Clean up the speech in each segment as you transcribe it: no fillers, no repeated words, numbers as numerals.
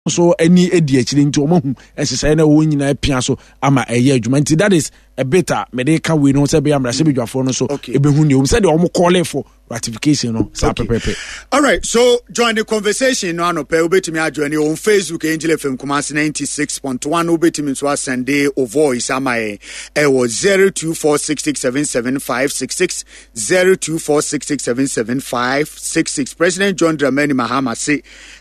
Nso ani di akyire nti wɔn ahu nhyehyɛeɛ no wɔn nyinaa pia so ama ɛyɛ adwuma. Nti that is a bit a mede ka wei no sɛ ɛbɛyɛ mmarahyɛbadwafoɔ no nso ɛbɛhu nea wɔm sɛdeɛ wɔn calling for ratification no saa pɛpɛpɛ. All right, so join the conversation no anɔpɛ. Wobɛtumi ajoin on Facebook, Angel FM Kumasi 96.1. Wobɛtumi nso asɛnde o voice ama yɛn ɛwɔ 0246677566, 0246677566. President John Dramani Mahama se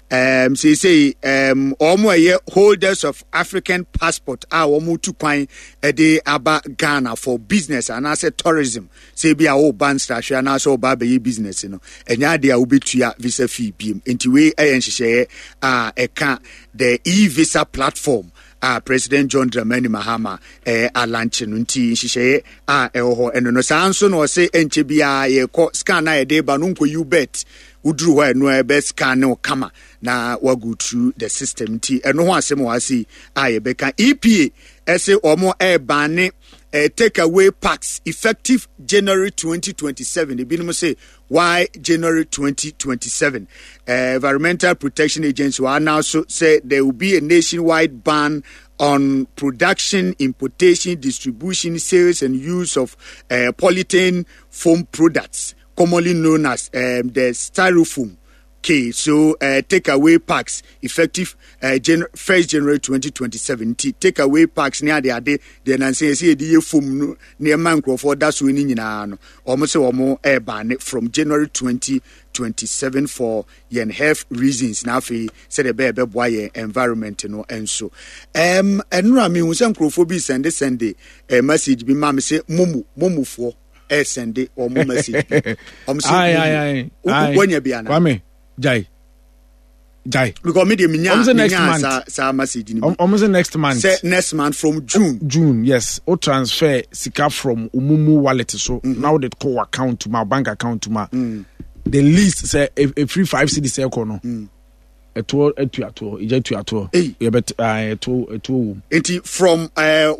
seesei wɔn a ɛyɛ holders of African passport a wɔn tu kwan de aba Ghana for business anaasɛ tourism, sɛ ebi a wɔreba nsrahwɛ anaasɛ wɔreba abɛyɛ business no, ɛnyɛ adeɛ a wobɛtua visa fee biem. Nti wei ɛyɛ nhyehyɛeɛ a ɛka the e-visa platform a President John Dramani Mahama alankye no. Nti nhyehyɛeɛ a ɛwɔ hɔ ɛno no. Saa nso na ɔse ɛnkyɛ biara yɛkɔ scan a yɛde ba no nkɔyi bet woduru hɔ a, ɛno a ɛbɛ scan ne wo kama na wago through the system. Nti ɛno ho asɛm wɔ ase a yɛbɛka. EPA ɛse wɔn ɛrebane take away packs effective January 2027. Ebinom se why January 2027? Environmental Protection Agency wɔ announce sɛ there will be a nationwide ban on production, importation, distribution, sales and use of polythene foam products, commonly known as the styrofoam. Okay, so takeaway packs effective 1st January 2027. Nti takeaway packs ne ade ade deɛ nansa yɛsɛ yɛde yɛ foam no nneɛma nkurɔfoɔ da so ne nyinaa no, wɔn sɛ wɔn ɛɛban from January 2027 for yɛn health reasons na afei sɛdeɛ ɛbɛyɛ ɛbɛboa yɛn environment no nso. Ɛnora mehu sɛ nkurɔfoɔ bi sɛnde sɛnde message bi ma me sɛ momu momufoɔ ɛsɛnde wɔn message bi, wɔn sɛ wɔnya bi ana. Kwame, jai jai. Because me de mi nya mi nya saa saa message ni bi. Wɔn sɛ next month. Sɛ next month from June. June, yes. O transfer sika from omumu wallet so na o de kɔ account ma bank account ma. The least sɛ efiri 5 cedis ɛkɔ no. Ɛtoɔ atuatoɔ, egya tuatoɔ. Yɛbɛ ɛtoɔ ɛtoɔ wɔ mu. Nti from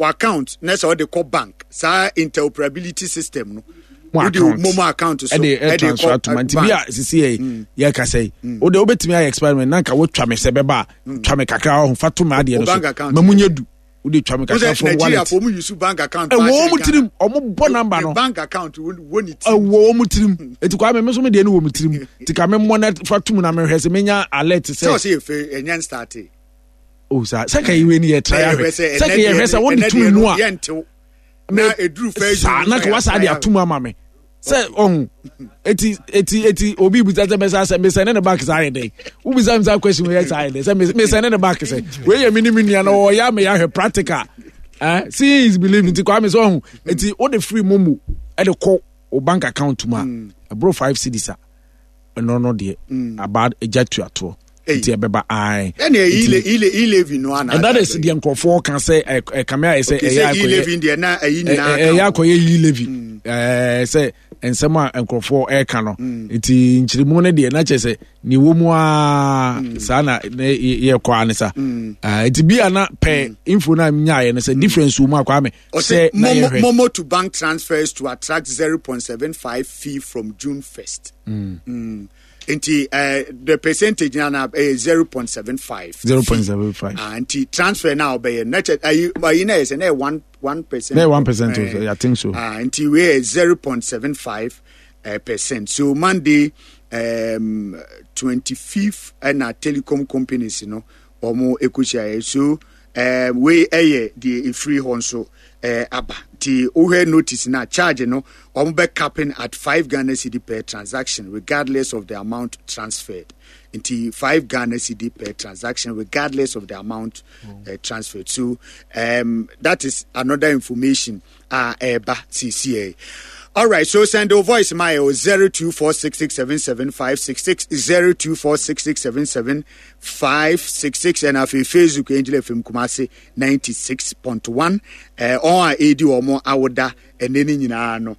account na sɛ ɔde kɔ bank, saa interoperability system no, mo account, momo account so ɛde ɛ transfer to ma. Nti bi a sisi yɛ yɛ kasa yi, o de wobɛtumi ayɛ experiment na nka wotwa me sɛ bɛba a, twa me kakra ɔho fa to me adeɛ no so ma mu nye du. Wode twa me kakra from wallet. Nigeria fo use bank account. Ɛwɔ wɔn tirim, ɔmo bɔ number no. Bank account wɔ ne tirim. Ɛwɔ wɔn tirim. Eti kwa mi nso mi deɛ no wɔ mi tirim. Ti ka mi mmɔ na fa tum na mi hwɛ sɛ mi nya alert sɛ. Sɛ ɔsɛ efe ɛnyɛ nstarte. O sa sɛ ka iwe ni yɛ try ahwɛ sɛ ka yɛ hwɛ sɛ wɔde tum mu a. Na eduru fɛ. Saa na ka wasa de atum ama mi sɛ ɔhu. Eti obi bisa sɛ bɛsa sɛ mesɛ ne ne back saa ayɛ dɛ. Wobisa mi saa question wei yɛ saa ayɛ dɛ sɛ mesɛ ne ne back sɛ wei yɛ mi ne mi nua na ɔyɛ ama yɛ ahwɛ practical. Seeing is believing. Nti Kwame sɛ ɔhu, eti wode free momo ɛde kɔ o bank account mu a, ɛboro 5 cedis a, ɛno no deɛ aba agya tuatoɔ nti ɛbɛba ae. Ɛna e-levy no ana. And that is deɛ nkurɔfoɔ ka sɛ ɛkame ayɛ sɛ ɛyɛ akɔyɛ e-levy deɛ na ɛyi nyinaa ɛyɛ akɔyɛ e-levy sɛ nsɛm a nkurɔfoɔ ɛreka no. Nti nkyerɛmu no deɛ na kyerɛ sɛ ne wɔ mu aa saa na yɛkɔ a ne sa. Nti bi a na pɛ info no a nyaeɛ no sɛ difference wɔ mu a, Kwame, sɛ na yɛhwɛ. Momo to bank transfers to attract 0.75 fee from June 1st. Nti the percentage na 0.75. 0.75. Nti transfer na ɔbɛyɛ na kyɛ ayi ayi na yɛ sɛ na yɛ 1.1%. Na yɛ 1% I think so. Nti wei yɛ 0.75 percent. So Monday 25th ɛna telecom companies no wɔn ekohyia yɛ. So wei ɛyɛ deɛ efiri hɔ nso aba. Nti wohwɛ notice na charge no, wɔn bɛ capping at 5 Ghana cedi per transaction regardless of the amount transferred. Nti 5 Ghana cedi per transaction regardless of the amount transferred. So that is another information a ɛreba sisi. All right, so send your voice my 0246677566, 0246677566, and afei Facebook, Angel FM Kumasi 96.1. Ɔn a ɛredi wɔn awoda ɛnɛ ne nyinaa no,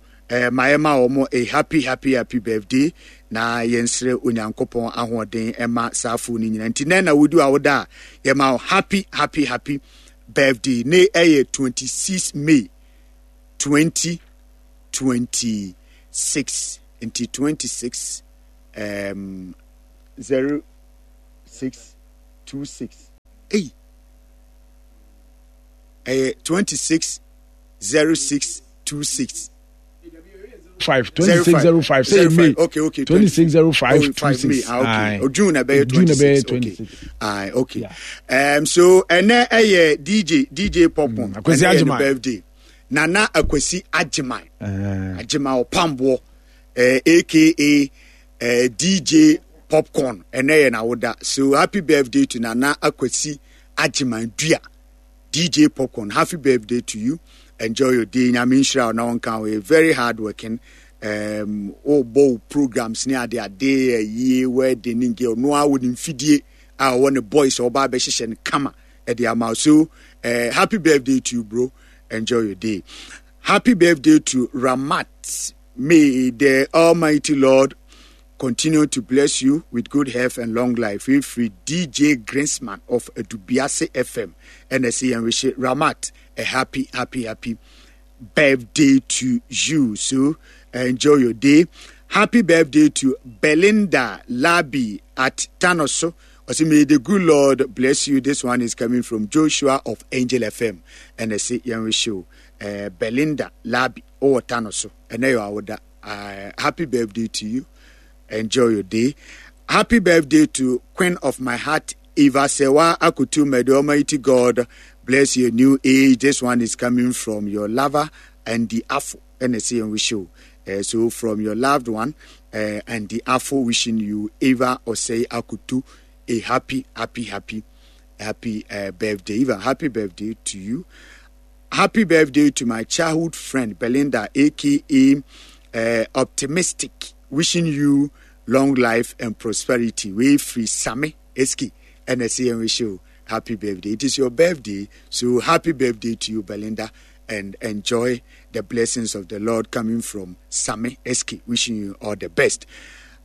ma yɛma wɔn a happy happy happy birthday na yɛnsrɛ Onyankopɔn ahoɔden ɛma saa afo no nyinaa. Nti nɛ na wodi awoda a, yɛma wo happy happy happy birthday. Ne ɛyɛ 26 May 2026. Nti 26 06 26. Ei, ɛyɛ 26 06 26. 5 2605 sɛ yɛ May. Okay. 2605 26. Ah, okay. Oh, June ɛbɛyɛ 26. Okay. Ah, okay. Yeah. So ɛnɛ ɛyɛ DJ Popcorn. Akwasi Agyeman birthday. Nana Akwasi Agyeman. Agyeman Ɔpamboɔ, aka DJ Popcorn. Ɛnɛ yɛ n'awoda. So happy birthday to Nana Akwasi Agyeman Dua. DJ Popcorn, happy birthday to you. Enjoy your day. Nyame nhyira wo na ɔnka wo. Yɛ very hard working. Wobɔ wo programs ne ade ade ayie wedding ne nge ɔno a wɔ ne mfidie a ɔwɔ ne boys a ɔba abɛhyehyɛ no kama ɛde ama wo. So happy birthday to you bro. Enjoy your day. Happy birthday to Ramat. May the Almighty Lord continue to bless you with good health and long life. We free DJ Greensman of Edubiase FM. And I say and wish Ramat a happy, happy, happy birthday to you. So enjoy your day. Happy birthday to Belinda Labi at Tanoso. I say, may the good Lord bless you. This one is coming from Joshua of Angel FM. And I say, and wish you Belinda Labi or Tanoso. And I happy birthday to you. Enjoy your day. Happy birthday to Queen of my heart, Eva Sewa Akutu. May the Almighty God bless your new age. This one is coming from your lover and the Afo. And I say and wish you. So from your loved one and the Afo wishing you Eva Osei Akutu a happy, happy, happy, happy birthday. Eva, happy birthday to you. Happy birthday to my childhood friend Belinda, aka Optimistic. Wishing you long life and prosperity. We free Sami Eski and I say and wish you happy birthday. It is your birthday, so happy birthday to you, Belinda, and enjoy the blessings of the Lord coming from Sami Eski. Wishing you all the best.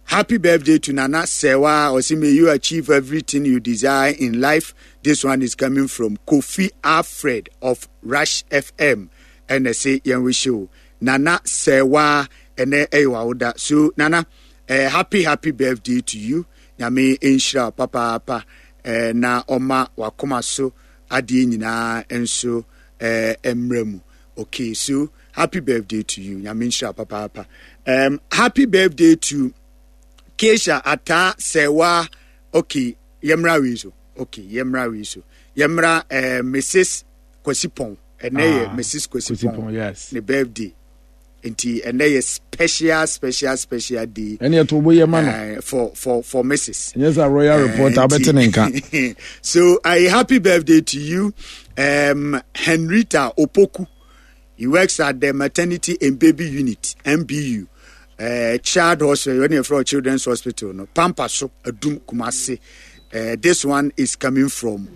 Happy birthday to Nana Sewa. Osi, may you achieve everything you desire in life. This one is coming from Kofi Alfred of Rush FM. And I say, Yen wish you. Nana Sewa ene ewa oda. So, Nana, happy, happy birthday to you. Nyame nhyira papa papa na oma wakoma so adie nyina nso emre mu. Okay, so happy birthday to you. Nyame nhyira papa papa. Happy birthday to Keisha Ata Sewa. Okay, yemra wi so. Okay, yemra wi so. Yemra Mrs. Kwesi Pon. Ene ye Mrs. Kwesi Pon. Yes. Ne birthday. Nti ene ye special special special day. Ene to bo ye ma no. For Mrs. Yes, a royal reporter abete nka. So a happy birthday to you, Henrietta Opoku. He works at the Maternity and Baby Unit, MBU, Child Hospital, Children's Hospital, no, Pampaso, Adum Kumasi. This one is coming from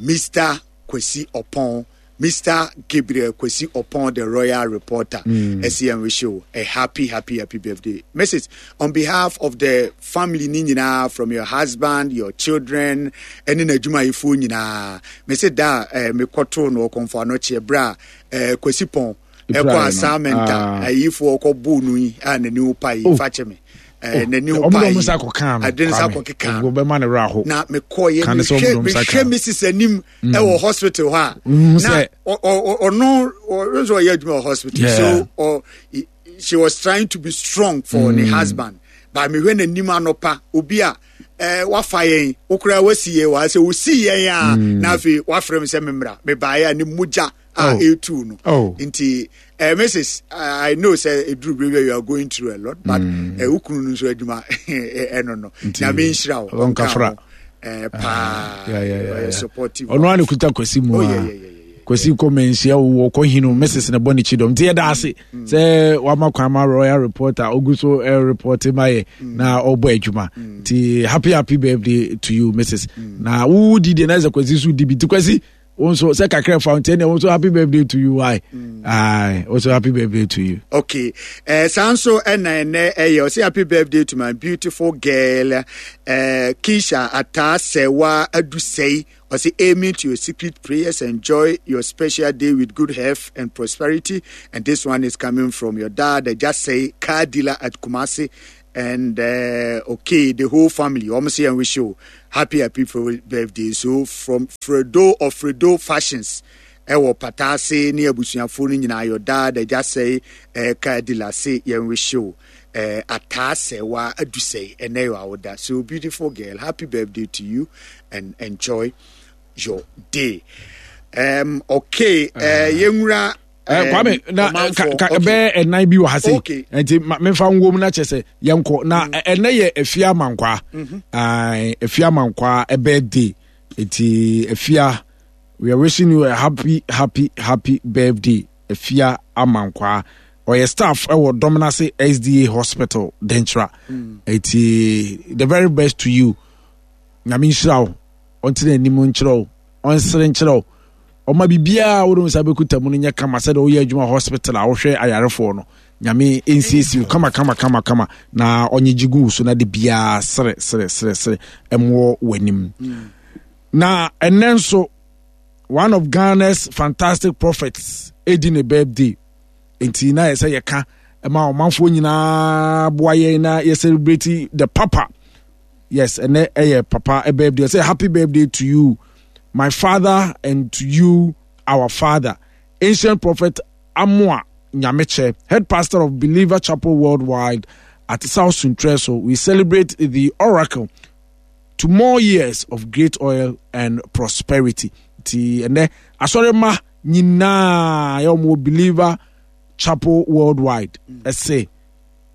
Mr. Kwesi Opon, Mr. Gabriel Kwesi Opon, the royal reporter. SEM wish you a happy, happy, happy birthday. Message on behalf of the family nyinaa, from your husband, your children, and in adwuma ifo nyinaa. Message da me koto no okonfo ano che bra Kwesi Pon ekọ assignment ayifo okọ bu nu yi a nani wo pa yi fa che me. Nani wo pa yi. Adene sa kɔkeka no. Na mekɔ ye mehwɛ Mrs. Anim ɛwɔ hospital hɔ a. Na ɔno ɔno ɔyɛ adwuma wɔ hospital. So she was trying to be strong for her husband. But mehwɛ n'anim anɔpa obi a wafa yɛn wokora wasi yɛn wɔ ha sɛ wosi yɛn a na afei wafrɛ me sɛ memmra mebaeɛ a ne mogya a ɛtu no. Nti Mrs. I know sɛ ɛduru bere bi you are going through a lot, but wo kunu no nso adwuma ɛno no. Nyame nhyira wo. Ɔnkafra. Paa. Supportive. Ɔno a ne kuta Kwasi mu a. Kwasi kɔ manhyia wo kɔ hinu Mrs. ne bɔ ne kyidɔm. Nti yɛda ase sɛ wama kwan ma royal reporter ogu so report ma yɛ na ɔbɔ adwuma. Nti happy happy birthday to you Mrs. Na wo di deɛ na sɛ Kwasi so di bi. Nti Kwasi wo nso sɛ kakra fa nti ɛnna wo nso happy birthday to you why? Aye, also happy birthday to you. Okay. Saa nso ɛna ɛnɛ ɛyɛ ɔsɛ happy birthday to my beautiful girl Keisha Ata Sewa Adusei. Ɔsɛ aiming to your secret prayers, enjoy your special day with good health and prosperity. And this one is coming from your dad, just say car dealer at Kumasi. And okay, the whole family, wɔn sɛ yɛn wish you happy happy birthday. So from Fredo of Fredo Fashions, ɛwɔ Pataase ne abusuafoɔ no nyinaa, your dad agya sɛe ɛka adila se yɛn wish you ataa sɛwa adusɛe ɛnɛ yɛ awoda. So beautiful girl, happy birthday to you and enjoy your day. Okay, yɛnwura Kwame na bɛyɛ ɛnan bi wɔ ha sei nti memfa nwom na kyɛ sɛ yɛnkɔ na mm. ɛnɛ yɛ afia amankwaa mhm. afia amankwaa birthday nti afia, we are wishing you a happy happy happy birthday, Afia Amankwaa. Ɔyɛ staff ɛwɔ Dɔmnase SDA Hospital Denkyira mm. Nti the very best to you. Nyame nhyira wo, ɔntena anim nkyerɛ wo, ɔnsere nkyerɛ wo, ɔma biribiara a wode wo nsa bɛkuta mu no nyɛ kama sɛdeɛ woyɛ adwuma hospital a wohwɛ ayarefoɔ no. Nyame nsiesie wo kama kama kama kama na ɔnyegye gu wo so na de biara sere sere sere sere ɛmoɔ w'anim. Na ɛnɛ nso one of Ghana's fantastic prophets ɛdi ne birthday, nti na yɛ sɛ yɛka ɛma ɔmanfoɔ nyinaa boa yɛn na yɛ celebrate the papa. Yes, ɛnɛ ɛyɛ papa birthday. Say happy birthday to you, my father, and to you, our father, ancient prophet Amoa Nyameche, head pastor of Believer Chapel Worldwide at South Suntreso. We celebrate the oracle to more years of great oil and prosperity. Ti ɛnɛ asɔre ma nyinaa yɛ wɔn Believer Chapel Worldwide ɛsɛ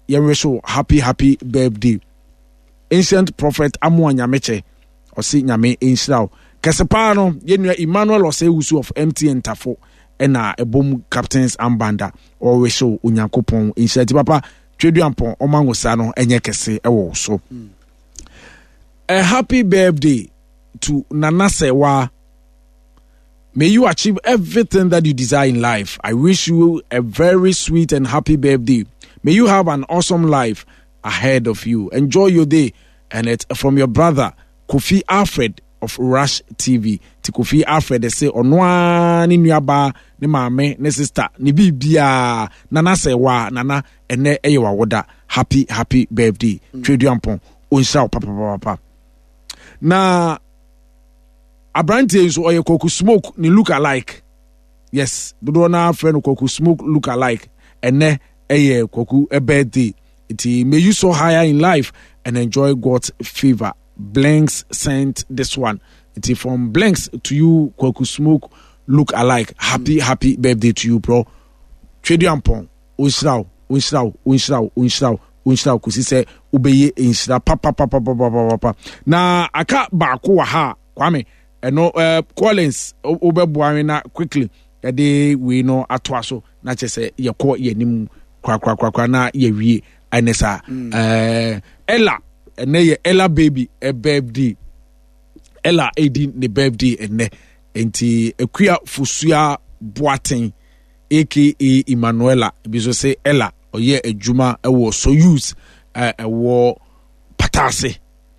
yɛn wish happy happy birthday, ancient prophet Amoa Nyameche. Ɔse Nyame nhyira wo kɛse paa no. Yɛnua Emmanuel Ɔsɛewusu of MTN Tafo ɛna ɛbom captains armband a ɔrehyɛ wo. Onyankopɔn nhyira ti papa Tweduampɔn ɔma nwosa no ɛnyɛ kɛse ɛwɔ wo so. A happy birthday to Nana Sewa. May you achieve everything that you desire in life. I wish you a very sweet and happy birthday. May you have an awesome life ahead of you. Enjoy your day. And it's from your brother, Kofi Alfred of Rush TV. Ti Kofi Alfred se ɔno ara ne nuabaa, ne maame, ne sister, ne biribiara. Nana Sɛwa, Nana, ɛnɛ ɛyɛ w'awoda. Happy, happy birthday. Tweduampɔn, ɔnhyira wo papapapa. Na aberanteɛ yi nso ɔyɛ Kwaku Smoke ne look alike. Yes, dodoɔ no ara frɛ no Kwaku Smoke look alike. Ɛnɛ ɛyɛ Kwaku birthday. Nti may you so higher in life and enjoy God's favor. Blinks sent this one. Nti from Blinks to you, Kwaku Smoke look alike. Happy, happy birthday to you, bro. Tweduampɔn, ɔnhyira wo, ɔnhyira wo, ɔnhyira wo, ɔnhyira wo, ɔnhyira wo kɔsi sɛ wobɛyɛ nhyira papapapapapapa. Na aka baako wɔ ha a, Kwame, ɛno Collins wobɛboa me na quickly ɛde wei no atoa so na kyerɛ sɛ yɛkɔ yɛn anim korakorakorakora na yɛwie ɛne saa. Ella, ɛnɛ yɛ Ella baby birthday. Ella ɛdi ne birthday ɛnɛ. Nti Akua Fosua Boateng aka Emmanuela bi nso sɛ Ella ɔyɛ adwuma ɛwɔ Soyuz ɛwɔ Patase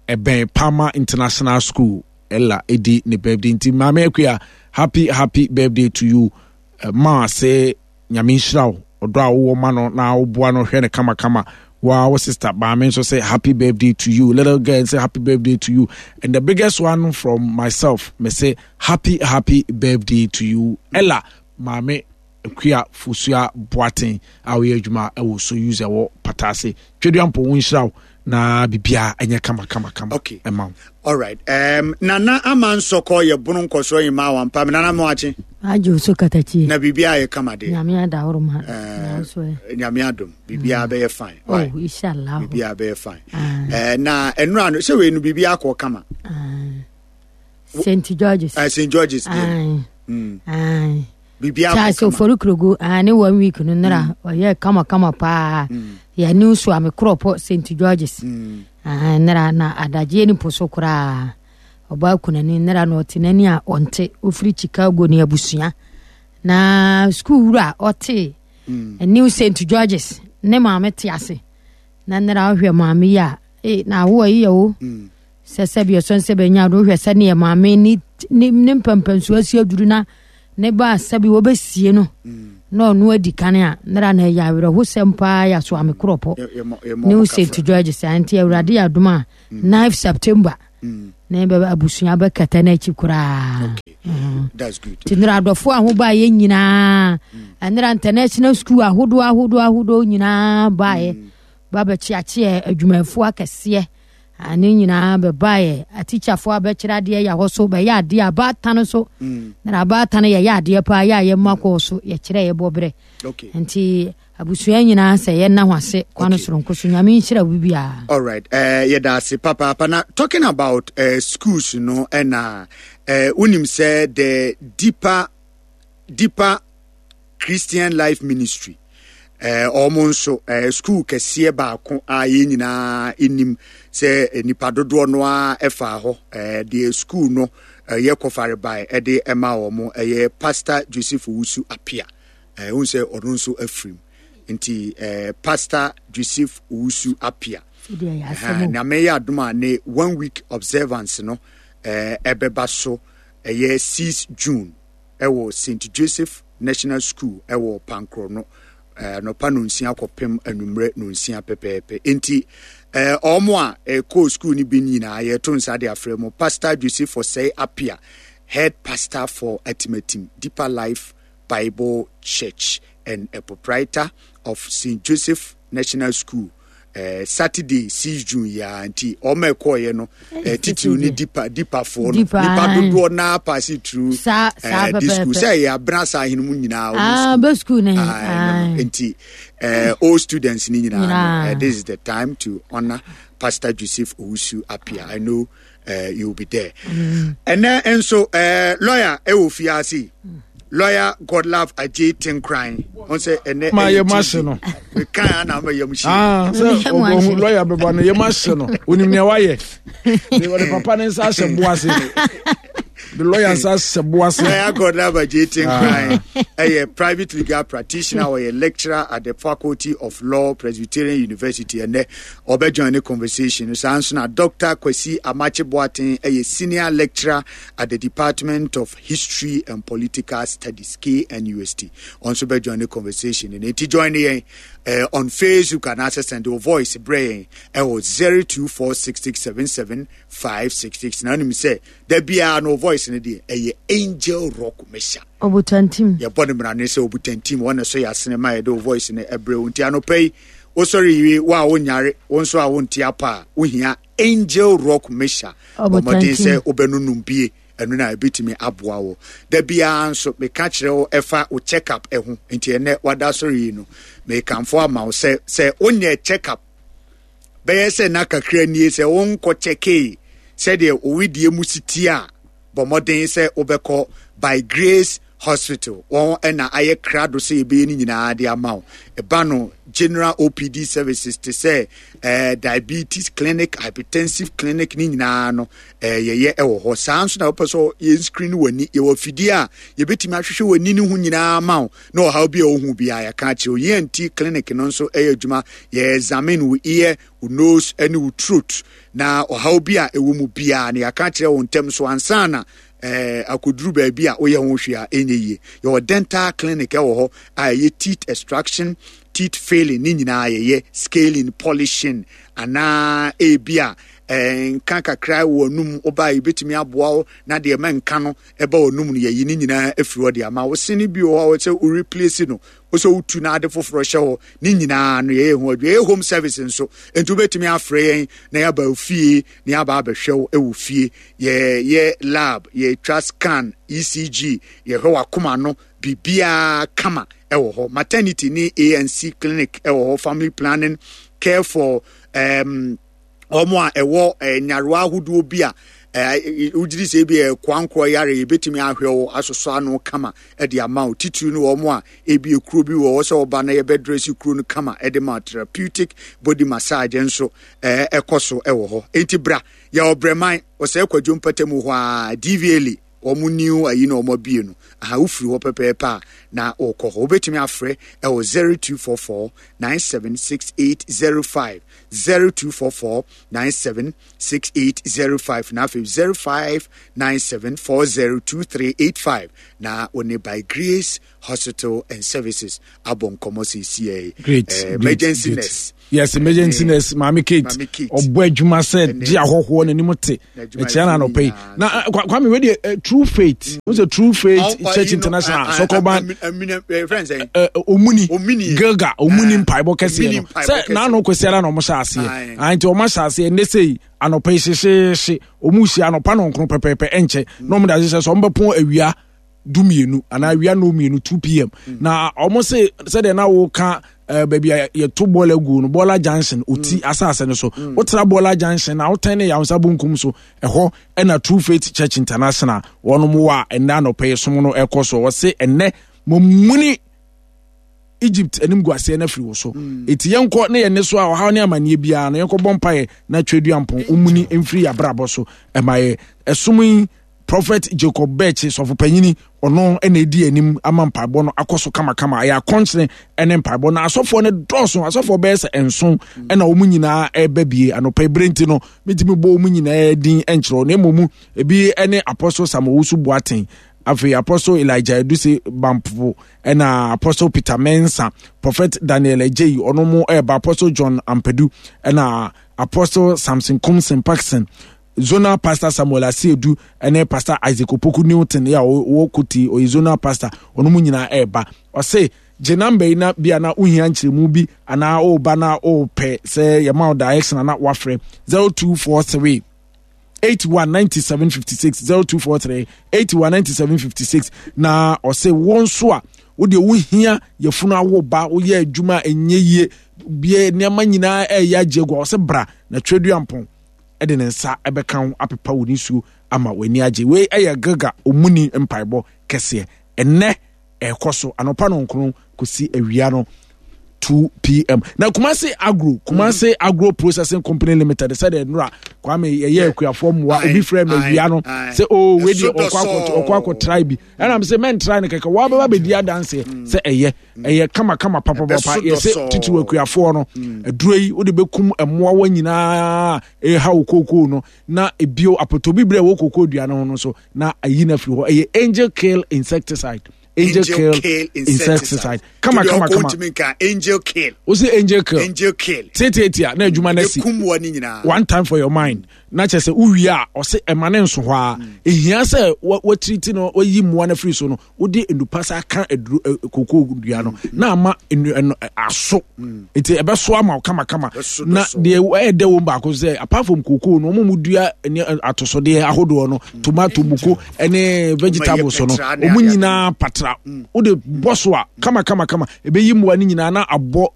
ɛbɛn Palmer International School. Ella ɛdi ne birthday nti maame Akua, happy happy birthday to you. Ma sɛ Nyame nhyira wo ɔdɔ a wowɔ ma no na woboa no hwɛ no kamakama. Wa wo sister maame nso sɛ happy birthday to you. Little girl say happy birthday to you. And the biggest one from myself, me say happy happy birthday to you, Ella maame Akua Fosua Boateng a woyɛ adwuma ɛwɔ Soyuz ɛwɔ Patase. Tweduampɔn wo nhyira wo na biribiara ɛnyɛ kama kama kama. Okay. Ɛma wo. All right. Nana Ama Nsɔkɔ yɛ bono nkɔsoɔ yi ma wampa me Nana Moakye. Agye so katakyie. Na biribiara yɛ kama de. Nyame adahoro ma. Nanso ɛ. Nyame adom. Biribiara bɛyɛ fine. Oh, inshallah. Biribiara bɛyɛ fine. Na ɛnura no sɛ wei no biribiara kɔ kama. St. George's. St. George's. Biribiara kɔ Charles kama. Ofori Krogu, ne 1 week no nora ɔyɛ kama kama paa. Yɛ ne nso a me korɔpɔ St. George's. Nora na adagyeɛ ne po so koraa. Ɔbaa kunani nora na ɔte n'ani a ɔnte ofiri Chicago ne abusua. Na sukuu wura ɔte New St. George's ne maame te ase. Na nora ɔhwɛ maame yi a na awoɔ yi yɛ o. Sɛ sɛbi ɔsɔn sɛ bɛnya do hwɛ sɛneɛ maame ne ne ne mpɛmpɛnsoɔ asi aduru na ne ba sɛbi wɔbɛsie no. Na ɔno adi kan a nnera na ɛyɛ awerɛhosɛm paa yɛ aso ame korɔpɔ New St George saa nti awurade yɛ adom a 9 September na bɛbɛ abusua bɛkata no akyi koraa. Nti nnera adɔfo a ho baeɛ nyinaa, nnera international school ahodoɔ ahodoɔ ahodoɔ nyinaa baeɛ ba bɛkyeakyeɛ adwumayɛfoɔ akɛseɛ ne nyinaa bɛbaeɛ, atikyafoɔ abɛkyerɛ adeɛ yɛ hɔ so bɛyɛ adeɛ abaatan so na abaatan yɛyɛ adeɛ paa yɛ a yɛma kɔɔ so yɛkyerɛ yɛbɔ berɛ. Nti abusua nyinaa sɛ yɛnna ho ase kwan soronko so. Nyame nhyira wo biara. All right, yɛda ase papaapa. Na talking about schools no, ɛna wonim sɛ the deeper Christian Life Ministry, wɔn nso school kɛseɛ baako a yɛn nyinaa nim sɛ nipa dodoɔ no ara ɛfa hɔ, deɛ school no yɛ kɔfare bae ɛde ɛma wɔn ɛyɛ Pastor Joseph Owusu Apia. Wohu sɛ ɔno nso afirim nti, Pastor Joseph Owusu Apia, Nyame yɛ adom a ne one week observance no ɛbɛba so ɛyɛ 6 June ɛwɔ St Joseph National School ɛwɔ Pankorɔ no, anɔpa nonsia kɔpem anwummerɛ nonsia pɛpɛɛpɛ. Nti ɔmo a ɛkɔɔ school no bi nyinaa yɛto nsa de afrɛ mu. Pastor Joseph Osei Apia, head pastor for Atimatim Deeper Life Bible Church and a proprietor of St. Joseph National School, Saturday 6 June yi ara. Nti ɔma ɛkɔɔyɛ no, titiriw ne dipa dipafoɔ no, nipa dodoɔ naa paase through this school sɛ ɛyɛ abena saa ahene mu nyinaa wɔn school nti all students ni nyinaa no, this is the time to honour Pastor Joseph Owusu Apia. I know you will be there. Ɛnɛ nso lawyer ɛwɔ fiase, lawyer Godlove Ajay Tinkran, wọn sɛ ɛnɛ ma yɛ ma se no mekan ana ama yam hye. Ah, sɛ ɔhu lawyer bɛba no yɛ ma se no, onim nea wayɛ, ɔde papa ne nsa ahyɛ bo ase, the lawyer nsa ahyɛ bo ase. Lawyer Godlove Ajay Tinkran ɛyɛ private legal practitioner, ɔyɛ lecturer at the Faculty of Law, Presbyterian University. Ɛnɛ ɔbɛjoin ne conversation. Saa nso na Dr Kwasi Amakye Boateng ɛyɛ senior lecturer at the Department of History and Political Studies, KNUST. Ɔno nso bɛjoin ne conversation no. Nti join yɛn on Facebook anaasɛ send your voice brɛ yɛn ɛwɔ 0246677566. Na wonim sɛ da biara no voice no deɛ ɛyɛ Angel Rock Mesha. Obutantim. Yɛbɔ no mmara ne sɛ Obutantim wɔn so yɛ asene ma yɛde wo voice no ɛbrɛ wo. Nti anɔpa yi wosɔre yie, wo a wonyare, wo nso a wonte apa a wohia Angel Rock Mesha, bɔ mmɔden sɛ wobɛnonom bie, ɛno na ɛbɛtumi aboa wo. Da biara nso meka kyerɛ wo ɛfa wo check up ɛho. Nti ɛnɛ wada sɔre yi no, mekamfo ama wo sɛ sɛ wonyɛ check up bɛyɛ sɛ na kakra nie sɛ wonkɔ kyɛkee sɛdeɛ owidie mu si tie a, bɔ mmɔden sɛ wobɛkɔ By Grace Hospital. Wɔn ɛna ayɛ krado sɛ yɛbɛyɛ no nyinaa de ama wo. Ɛba no general OPD services te sɛ diabetes clinic, hypertensive clinic ne nyinaa no, yɛyɛ ɛwɔ hɔ. Saa nso na wopɛ sɛ yɛn screen w'ani, yɛwɔ afidie a yɛbɛtumi ahwehwɛ w'ani no ho nyinaa ma wo na ɔhaw bi a wohu biara yɛka akyerɛ wo. ENT clinic no nso ɛyɛ adwuma, yɛ examine wo ear, wo nose ne wo throat na ɔhaw bi a ɛwɔ mu biara no yɛaka akyerɛ wo ntɛm so ansa na akoduru baabi a woyɛ ho hwee a ɛnyɛ yie. Yɛwɔ dental clinic ɛwɔ hɔ a ɛyɛ teeth extraction, teeth filling ne nyinaa yɛyɛ, scaling, polishing anaa ebi a nka kakra wɔ anum woba a yɛbɛtumi aboa wo na deɛ ɛma nka no ɛba wɔ anum no yɛyi ne nyinaa afiri hɔ de ama wo. Sene bi wɔ hɔ a sɛ wo replace no, wo sɛ wotu na ade foforɔ hyɛ hɔ ne nyinaa no yɛyɛ ho adwuma. Yɛyɛ home service nso, nti wobɛtumi afrɛ yɛn na yɛaba fie na yɛaba abɛhwɛ wo wɔ fie. Yɛyɛ lab, yɛtwa scan, ECG, yɛhwɛ w'akoma no, biribiara kama ɛwɔ hɔ. Maternity ne ANC clinic ɛwɔ hɔ, family planning, care for wɔn a ɛwɔ nyarewa ahodoɔ bi a wogyiri sɛ ebi ɛkoankorɔ yare, yɛbɛtumi ahwɛ wo asosɔ ano kama de ama wo. Titiri no wɔn a ebi ekuro bi wɔ hɔ sɛ ɔba na yɛbɛdrɛsi kuro no kama de ma. Therapeutic body massage nso ɛkɔ so ɛwɔ hɔ. Enti bra, yɛwɔ Brɛman, Ɔsɛe Kwadwo mpatamu hɔ a, DVLA. Wɔn new ayi na wɔn abie no. Aha wofiri hɔ pɛpɛɛpɛ a na wɔkɔ hɔ. Wobɛtumi afrɛ ɛwɔ 0244 976805 0244 976805 na afei 0597402385 na wɔne by Grace Hospital and Services abɔ nkɔmmɔ seesiei. Great, eh, emergency great, nurse. Yes, emergency nurse Maame Kate. Ɔbɔ adwuma sɛ gye ahɔhoɔ n'anim te. Ɛkyia na anɔpɛ yi. Na eh, Kwame wei deɛ eh, True Faith. Wo sɛ True Faith Church International Sɔkɔban. Omuni. Gilga Omuni mpaebɔ kɛseɛ no. Sɛ n'ano kwasiara na ɔmo hyɛ aseɛ. Ah, nti ɔmo ahyɛ aseɛ nnɛ sɛ yi anɔpɛ yi hyehyeehye. Ɔmo hyia anɔpa nɔnkron pɛpɛɛpɛ ɛnkyɛ. Na ɔmo de ahyehyɛ sɛ ɔmo bɛpɔn awia dumienu anaa awia nnɔn mmienu 2 pm na wɔn se sɛdeɛ na wɔka eh, baabi a yɛto bɔɔla gu no bɔɔla junction oti mm. asase no so mm. wotra bɔɔla junction na wotɛn ne yawonsa bonkum so ɛhɔ ɛna True Faith Church International wɔn wɔ a ɛnɛ anɔpɛ yi som no ɛkɔ so wɔse ɛnɛ mɔmuni Egypt animguaseɛ no afiri wo so. Mm. Eti yɛnkɔ ne yɛn ne so a ɔhaw ne amanneɛ biara no yɛnkɔ bɔ mpaeɛ na Tweduampɔn ɔmuni mfiri yɛn abrabɔ so ɛma yɛ ɛsom yi Prophet Jacob Birch sɔfo panyini ɔno na edi anim ama mpaebɔ no akɔ so kamakama ɛyɛ akɔnkyene ne mpaebɔ na asɔfoɔ no dɔɔso asɔfoɔ bɛyɛ sɛ nson ɛna wɔn nyinaa ɛreba bie anɔpa ebere nti no metumi bɔ wɔn nyinaa din nkyerɛw na mmom ebi ne Apostle Samuel Owusu Boateng afei Apostle Elijah Eduse Bampo ɛna Apostle Peter Mensah Prophet Daniel Agyei ɔno mo ɛreba Apostle John Ampadu ɛna Apostle Samson Kumsin Parkson Zonal Pastor Samuel Asiedu ne Pastor Isaac Opoku Newton yɛ a ɔwɔ Koti, ɔyɛ Zonal Pastor, ɔno mu nyinaa ɛreba. Ɔse, gye namba yi na bia na wohia nkyerɛmu bi anaa woba na wopɛ sɛ yɛma wo direction ana wafrɛ 0243 81 97 56 0243 81 97 56 na ɔse wo nso a wodeɛ wohia yɛfunu awo ba woyɛ adwuma a ɛnyɛ yie bie nneɛma nyinaa ɛyɛ agye agu a ɔse bra na twerɛduampɔn de ne nsa bɛka wo apepa wo nisuo ama w'ani agye. Wei yɛ Gilgal omuni mpaebɔ kɛseɛ. Ɛnnɛ ɛrekɔ so anɔpa nɔnkron kɔsi awia no 2 pm. Na Kumasi Agro, Kumasi mm -hmm. Agro Processing Company Limited sɛdeɛ nnora Kwame yɛyɛ akuafoɔ mmoa obi frɛ me awia no sɛ o oh, wei deɛ ɔkɔ akɔ try bi ɛna m sɛ mɛntra no kɛkɛ wɔabɛba bɛdi adanseɛ sɛ ɛyɛ ɛyɛ kamakama papapapa yɛsɛ titiriw akuafoɔ no mm. aduro yi wode bɛkum mmoawa nyinaa ɛha wo kookoo no na ebio apɔtɔbibire a ɛwɔ kookoo dua no ho no so na ayi no afiri hɔ ɛyɛ angel kill insecticide angel, angel kill insecticide kama kama kama angel kill o se angel kill angel kill tiatiatia na adwuma no asi one time for your mind na kyerɛ sɛ wowie a ɔse ɛma ne nso hɔ a ɛhia sɛ watiriti no wayi mmoa no afiri so no wode nnupa sa ka aduro kokoo dua no na ama ɛno aso nti ɛbɛso ama wo kamakama na deɛ ɛyɛ dɛ wɔm baako sɛ apart from kokoo no wɔn mu dua ne atosodeɛ ahodoɔ no tomato muko ne vegetables no wɔn nyinaa patra wode bɔ so a kama kama kama ɛbɛyi mmoa no nyinaa na abɔ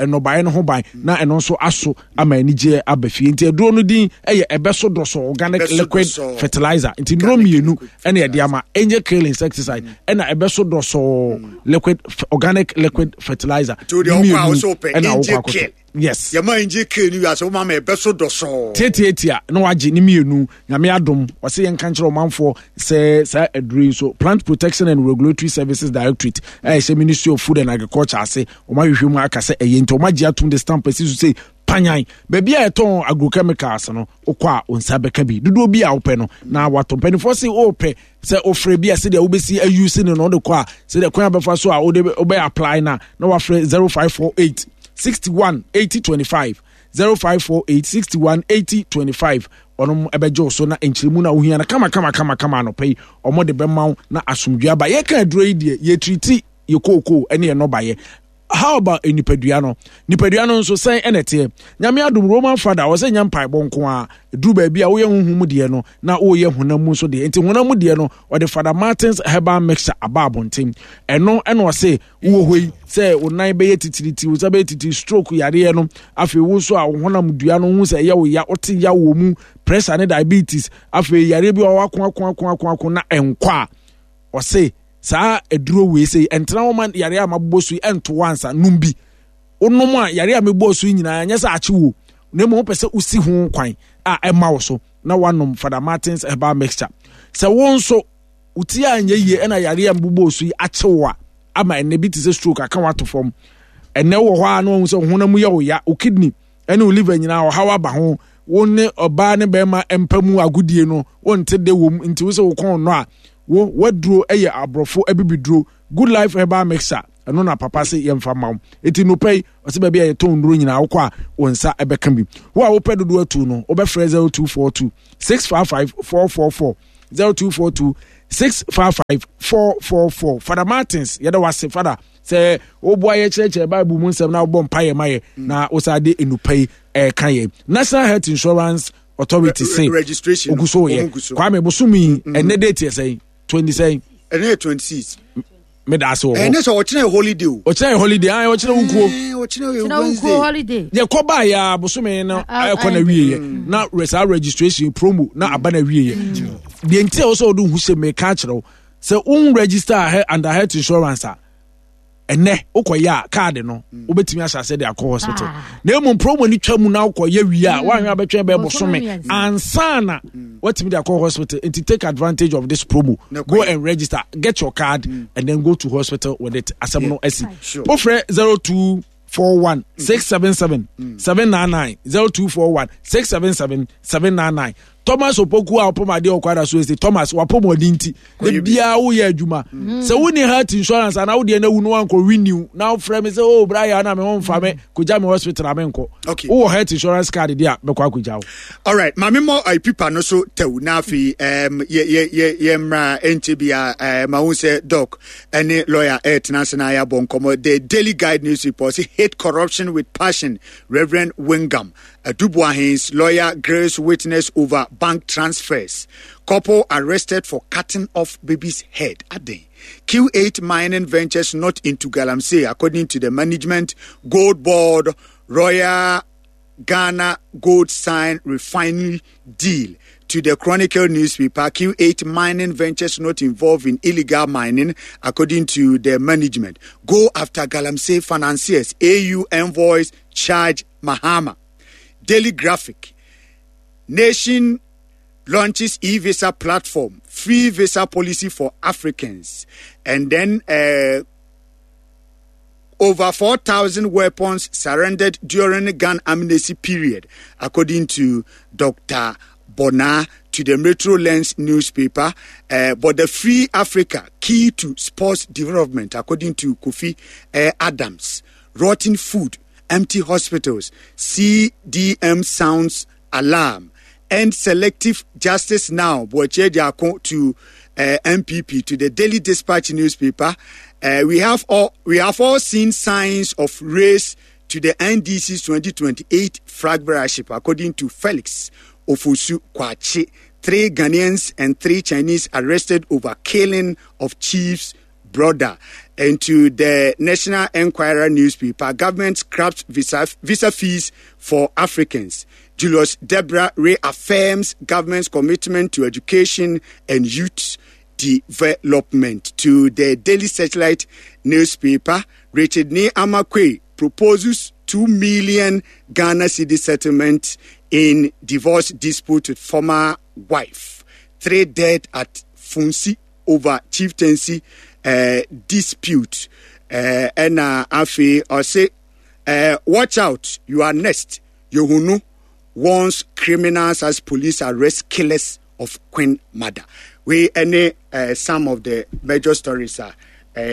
nnɔbaeɛ no ho ban na ɛno nso aso ama anigyeɛ aba fie nti aduro no din yɛ ɛbɛso dɔsɔ organic liquid fertilizer nti nnuro mmienu ɛna ɛde ama angel kill insecticide mm. ɛna ɛbɛso dɔsɔ mm. liquid organic liquid fertilizer mmienu ɛna awokɔ akɔtɔ yes yɛma angel kill ni wiase woma ma ɛbɛso dɔsɔ tiatiatia na wagye ne mmienu nyame adom ɔsɛ yɛnka nkyerɛ ɔmanfoɔ sɛ saa aduro yi nso plant protection and regulatory services directorate a ɛhyɛ ministry of food and agriculture ase wɔn ahwehwɛ mu aka sɛ ɛyɛ nti wɔn agye atum de stamp asi so sɛ panyan baabi a yɛtɔn agrochemicals no wokɔ a wo nsa bɛka bi dodoɔ bi a wopɛ no na watɔ mpanimfoɔ se wopɛ sɛ wofrɛ bi a sɛdeɛ wobɛsi ayi si no na wode kɔ a sɛdeɛ kwan a bɛfa so a wode wobɛ apply no a na wafrɛ 0548 61 80 25 0548 61 80 25 ɔnom ɛbɛgye wo so na nkyerɛmu no a wohia no kama kama kama kama anɔpa yi ɔmo de bɛma wo na asomdwoe aba yɛka aduro yi deɛ yɛtiriti yɛ kookoo ne yɛ nnɔbaeɛ how about nipadua no nipadua no nso sɛn ɛna ɛteɛ nyame adom roman fada ɔsɛ nya mpaebɔ nko a duru baabi a woyɛ honhom mu deɛ no na woyɛ honam mu nso deɛ nti honam mu deɛ no ɔde fada martins herbal mixture aba abɔnten ɛno ɛna ɔse wowɔ hɔ yi sɛ wo nan bɛyɛ titiriti wo nsa bɛyɛ titiri stroke yareɛ no afei wo nso a wo honam dua no ho sɛ ɛyɛ wo ya wote ya wɔ mu pressure ne diabetes afei yareɛ bi wɔ hɔ ako ako ako ako ako na ɛnkɔ a ɔse saa aduro wei sɛ ɛntena hɔ ma yare a mabobɔ so yi ɛnto hɔ ansa nom bi wonom a yare a mebɔɔ so yi nyinaa nyɛ sɛ akye wo na mmom wopɛ sɛ wosi ho kwan a ɛma wo so na wanom Fada Martins herbal mixture sɛ wo nso. Wo ti anyɛ yie ɛna yareɛ a mbobɔɔ so yi akye wo a ama ɛnɛ bi te sɛ stroke aka wo ato fam. Ɛnɛ wɔ hɔ a na wahu sɛ wo honam mu yɛ wo ya, wo kidney ɛne wo liver nyinaa ɔhaw aba ho. Wo ne ɔbaa ne bɛrima mpa mu agodie no wonte de wom nti wo sɛ wo kɔn nnɔ a wo waduro yɛ aborɔfo abibiduro Good Life Herbal Mixture ɛno na papa se yɛmfa ma wo. Eti nopɛ yi ɔsɛ baabi a yɛtɔn nnuro nyinaa wokɔ a wo nsa ɛbɛka bi. Wo a wopɛ dodoɔ atu no wobɛfrɛ 0242 655 444 0242 655 444. Fada Martins yɛda wase fada sɛ woboa yɛ kyerɛkyerɛ Bible mu nsɛm na wobɔ mpaeɛ ma yɛ na wosan de nnupa yi ɛka yɛ. National Health Insurance Authority se registration ogu so yɛ Kwame bosom yi ɛnɛ date yɛ sɛn 20 sɛn ɛnɛ yɛ 26 meda ase wɔ hɔ ɛnɛ sɛ ɔkyerɛ yɛ holiday o ɔkyerɛ yɛ holiday ayɛ ɔkyerɛ wo kuo ɔkyerɛ yɛ Wednesday holiday yɛ kɔ ba yɛ bosome no ɛkɔ na wie yɛ na saa registration promo na aba na wie yɛ deɛ nti a wɔsɛ ɔde ho hyɛ meka akyerɛ wo sɛ wo register under health insurance a ɛnɛ wokɔyɛ a kaade no mm. wobɛtumi ahyɛ ase de akɔ hospital ah. Na mmom promo no twa mu na wokɔyɛ wie a mm. woahwɛ abɛtwɛn bɛɛ bosome ansa na mm. woatumi de akɔ hospital. Nti take advantage of this promo, go and register, get your card and then go to hospital with it. Asɛm no asi. Wofrɛ 0241 677 799, 0241 677 799. Thomas Opoku a ɔpɔm adeɛ ɔkɔ ada so esi Thomas wapɔm ɔdi nti de biara woyɛ adwuma mm. Sɛ wonni health insurance anaa wodeɛ no awu no wankɔ renew na wofrɛ me sɛ oh bra yɛ na me ho mfa me kɔgya me hospital a menkɔ. Wowɔ health insurance card deɛ a mɛkɔ akɔgya wo. Alright, maame mmɔ pipa no so tɛw na afei um, yɛ mmra ɛnkyɛ bia ma wo sɛ doc ɛne lawyer ɛretena ase na yɛabɔ nkɔmmɔ. The Daily Guide newspaper sɛ hate corruption with passion, Reverend Wingam Aduboahen's lawyer grills witness over bank transfers. Couple arrested for cutting off baby's head. Aden. Q8 Mining Ventures not into Galamsey, according to the management. Gold Board, Royal Ghana Gold sign refinery deal. To the Chronicle newspaper, Q8 Mining Ventures not involved in illegal mining, according to the management. Go after Galamsey financiers. AU envoys charge Mahama. Daily Graphic. Nation launches e-visa platform, free visa policy for Africans. And then over 4,000 weapons surrendered during gun amnesty period, according to Dr. Bona to the Metro Lens newspaper. But the Free Africa, key to sports development, according to Kofi Adams. Rotten food, empty hospitals, CDM sounds alarm. And selective justice now, Boache Diako to MPP, to the Daily Dispatch newspaper. We have all seen signs of race to the NDC's 2028 flag bearership, according to Felix Ofosu Kwachi. 3 Ghanaians and 3 Chinese arrested over killing of chief's brother. And to the National Enquirer newspaper, government scraps visa fees for Africans. Julius Debra reaffirms government's commitment to education and youth development. To the Daily Searchlight newspaper, Richard Nii Armah Quaye proposes 2 million Ghana cedi settlement in divorce dispute with former wife. 3 dead at Funsi over chieftaincy dispute. And Afi ose, watch out, you are next. Yohunu warns criminals as police arrest killers of Queen Mother. We any some of the major stories are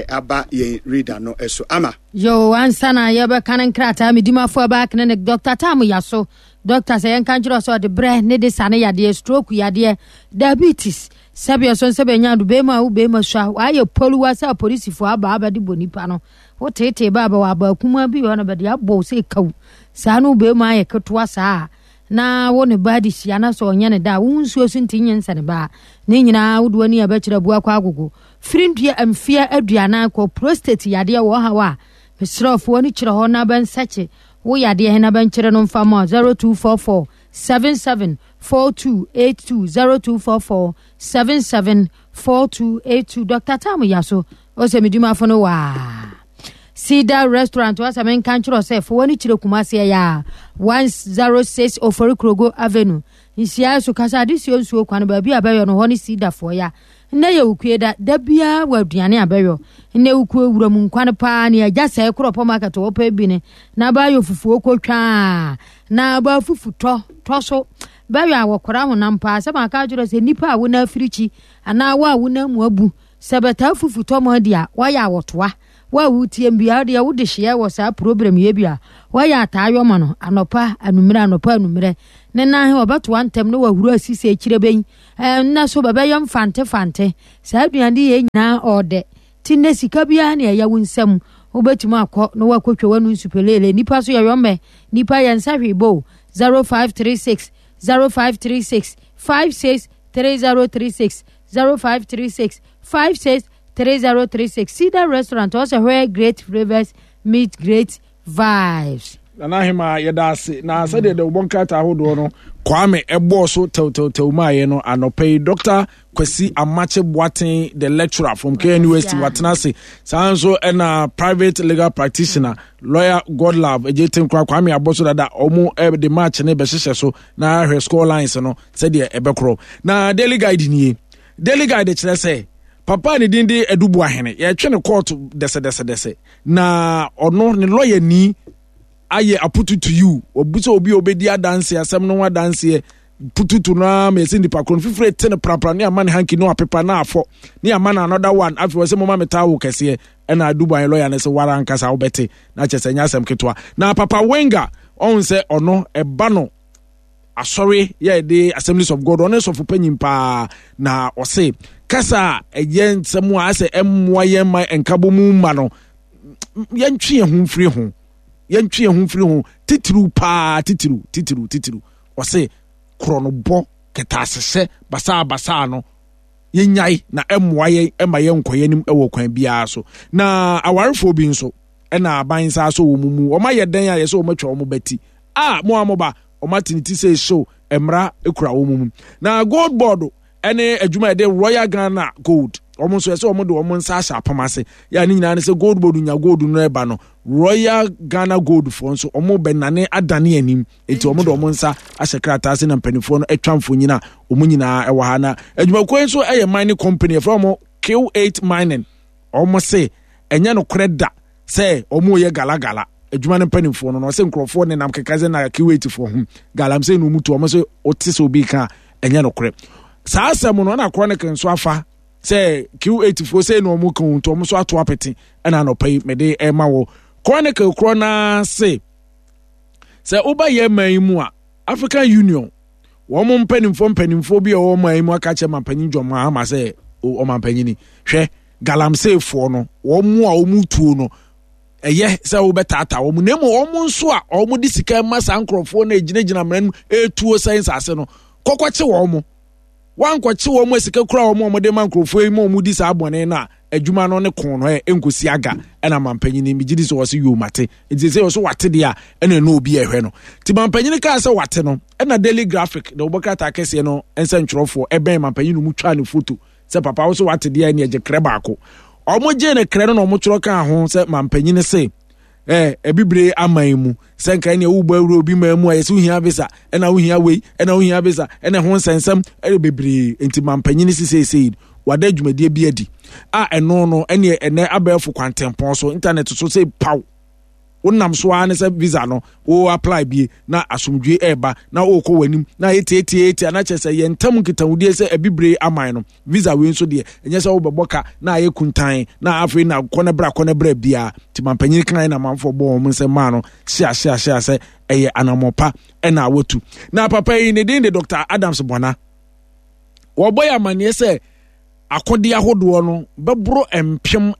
aba ye reader no eso ama. Yo ansana ye be kan nkrata me dimafo aba clinic Dr. Tam yaso. Doctor sɛ yɛnka nkyerɛ sɛ ɔde brɛ ne de sane yadeɛ, stroke yadeɛ, diabetes, sɛbi ɛso nsɛ bɛnya do bɛrima a wo bɛrima sua wayɛ poluwa sɛ apolisifoɔ aba abɛde bɔ nipa no woteetee ba abɛwɔ aba akumaa bi hɔ no bɛde abɔ wo sɛ kaw saa no wo bɛrima ayɛ ketewa saa na wo ne ba de hyia na sɛ ɔnyɛ ne da a wo nsuo so nti nyɛ nsɛ ne ba ne nyinaa wode w'ani a bɛkyerɛ abu akɔ agogo firi ndua mfeɛ 40 kɔ prostate yadeɛ wɔ haw a mesrɛ fo w'ani kyerɛ hɔ na bɛnsɛkye wo yadeɛ he na bɛnkyerɛ no mfa ma 0244 77 4282 0244 77 4282. Dr. Tam Yaso ɔsɛ medwumafo no waa Cedar Restaurant wasɛ menka nkyerɛ sɛ fo w'ani kyerɛ Kumase ɛyɛ a 106 Ofori Krogo Avenue nhyia so kasa adesuo nsuo kwan baabi a bɛyɔ no hɔ ne Cedarfoɔ ya. Nnɛ yɛ wukue da, da biara wɔ aduane a bɛyɔ. Nnɛ wukue wuram nkwan paa ne agya sɛe korɔpɔ market wɔpɛ bi ne na bɛayɔ fufuo kotwaa na bɛafufu tɔ tɔ so bɛyɔ a wɔkora honam paa sɛ maka akyerɛ sɛ nnipa a wona afirikyi anaa wo a wona mu abu sɛ bɛtaa fufu tɔ mo adi a wɔyɛ a wɔtoa. Wo a wotie mbia deɛ wode hyeɛ wɔ saa problem yɛ bi a wɔyɛ ataa yɔ ma no anɔpa anummerɛ anɔpa anummerɛ ne nan he wɔbɛtoa ntɛm ne wahuru asi sɛ akyire bɛyi ɛnna so bɛbɛyɛ mfante fante saa aduane yɛ nyinaa ɔɔdɛ ti nnɛ sika biara ne ɛyɛ wo nsam wobɛtumi akɔ na wakɔtwa w'anu nsupeleele nipa so yɛyɔ mmɛ nipa yɛ nsa hwee bo 0536 0536 56 3036 0536 56 3036 Cedar Restaurant ɔsɛ where great flavors meet great vibes. Nana Ahema yɛda ase na sɛdeɛ dawubɔ nkrataa ahodoɔ no Kwame ɛbɔɔ so tɛwtɛwtɛw maayɛ no anɔpa yi Dr. Kwasi Amakye Boateng the lecturer from KNUST watena ase saa nso ɛna private legal practitioner lawyer Godlove Egye Tenkora Kwame abɔ so dada ɔmo de match ne bɛhyehyɛ so na ahwɛ score lines no sɛdeɛ ɛbɛkorɔ na daily guide nie Daily Guide kyerɛ sɛ papa a ne din de Adu Boahene yɛtwe no kɔɔto dɛsɛdɛsɛdɛsɛ na ɔno ne lɔyani ayɛ apututu yiw wɔbu sɛ obi a obedi adanse asɛm no ho adanseɛ pututu no ara ma yɛsɛ nipa koro no fifire te no prapra ne ama ne hanki no apepa na afɔ ne ama no another one afei wɔ sɛ moma me towel kɛseɛ ɛna Adu Boahene lɔya no sɛ wara ankasa wobɛte na kyɛ sɛ ɛnyɛ asɛm ketewa na papa Wenga ɔhu sɛ ɔno ɛba no asɔre yɛ de Assemblies of God ɔne sɔfo panyin paa na ɔse kasa a ɛyɛ nsɛm a asɛ ɛmmoa yɛn ma nkabɔ mu ma no yɛntwe yɛn ho mfiri ho yɛntwe yɛn ho mfiri ho titiriw paa titiriw titiriw titiriw ɔse korɔnobɔ kɛtɛasehyɛ basaa basaa no yɛnyae na ɛmmoa yɛn ɛma yɛn nkɔ yɛn anim ɛwɔ kwan biara so na awarefoɔ bi nso ɛna aban nsa asɔ wɔn mu wɔn ayɛ dɛn a yɛsɛ wɔn atwa wɔn bɛti a mo a mo ba wɔn ate ne ti sɛ ehyew mmara ekura wɔn mu na gold board ɛne adwuma yɛde royal ghana gold wɔn nso ɛsɛ wɔn de wɔn nsa ahyɛ apam ase yɛ a ne nyinaa ne sɛ gold board nya gold no ɛba no royal ghana gold foɔ nso wɔn bɛnane adane anim eti wɔn de wɔn nsa ahyɛ krataa ase na mpanimfoɔ no atwa mfonyin a wɔn nyinaa ɛwɔ ha na adwumakuo yi nso ɛyɛ mining company yɛfrɛ wɔn Q8 mining Wɔn se ɛnyɛ nokorɛ da sɛ wɔn reyɛ galagala. Adwuma no mpanimfoɔ no na ɔsɛ nkurɔfoɔ nenam keka sɛ na Kuwaitfoɔ ho galamsey na wɔn tu wɔn se wote sɛ obi ka a ɛnyɛ nokorɛ. Saa asɛm no ɛna Chronicle nso afa sɛ Q8foɔ sei na wɔn ka nti wɔn nso ato apete ɛna anɔpa yi mede ɛma wɔ Chronicle korɔ naa se sɛ woba yɛ man yi mu a African Union wɔn mpanimfoɔ mpanimfoɔ bi a wɔwɔ man mu aka kyerɛ mampanyin John Mahama sɛ ɔmampanyini hwɛ galamseyfoɔ no wɔn mu a wɔn tuo no ɛyɛ sɛ wobɛtaataa wɔn na mmom wɔn nso a wɔn de sika ma saa nkurɔfoɔ no egyinagyina mmara no mu etuo sɛ nsaase no kɔkɔkye wɔn wankɔkye wɔn a sika kura wɔn a wɔde ma nkurɔfoɔ yi ma wɔn di saa bɔne no a adwuma no ne ko no ɛ nkosi aga ɛna mampanyini megye di sɛ wɔsi yoo mate nti sɛ wɔso wate deɛ a ɛna ɛna obi ɛhwɛ no nti mampanyini kaa sɛ wate no ɛna daily graphic na wɔbɔ krataa kɛseɛ no nsɛntwerɛfoɔ ɛbɛn mampanyini no mu twaa ne foto sɛ papa wo so wate deɛ ɛne ɛgye krɛ baako wɔn gye ne krɛ no na wɔn twerɛ kaa ho sɛ mampanyini se eh, abibire aman mu sɛ nka ɛnea wobɔ awura obi man mu a yɛsɛ wohia visa ɛna wohia wei ɛna wohia visa ɛna ɛho nsɛnsɛm ɛyɛ bebree nti mampanyini si seesei wada dwumadie bi adi a ɛno no ɛneɛ ɛnɛ abɛɛfo kwantempɔn so internet so sɛ paw wonam so ara ne sɛ visa no wo apply bie na asomdwe ɛreba na wokɔ w'anim na ayɛ tiatiatia na kyerɛ sɛ yɛn ntam nkitahodie sɛ abibire aman no visa wei nso deɛ ɛnyɛ sɛ wobɛbɔ ka na ayɛ kuntan na afei na kɔ no bra kɔ no bra biara nti mampanyin kan na amanfoɔ bɔ wɔn nsɛm maa no hyia hyia hyia sɛ ɛyɛ anammɔn pa ɛna awatu na papa yi ne din de Dr. Adams Bɔna wɔbɔ yɛ amanneɛ sɛ akodeɛ ahodoɔ no bɛboro 4000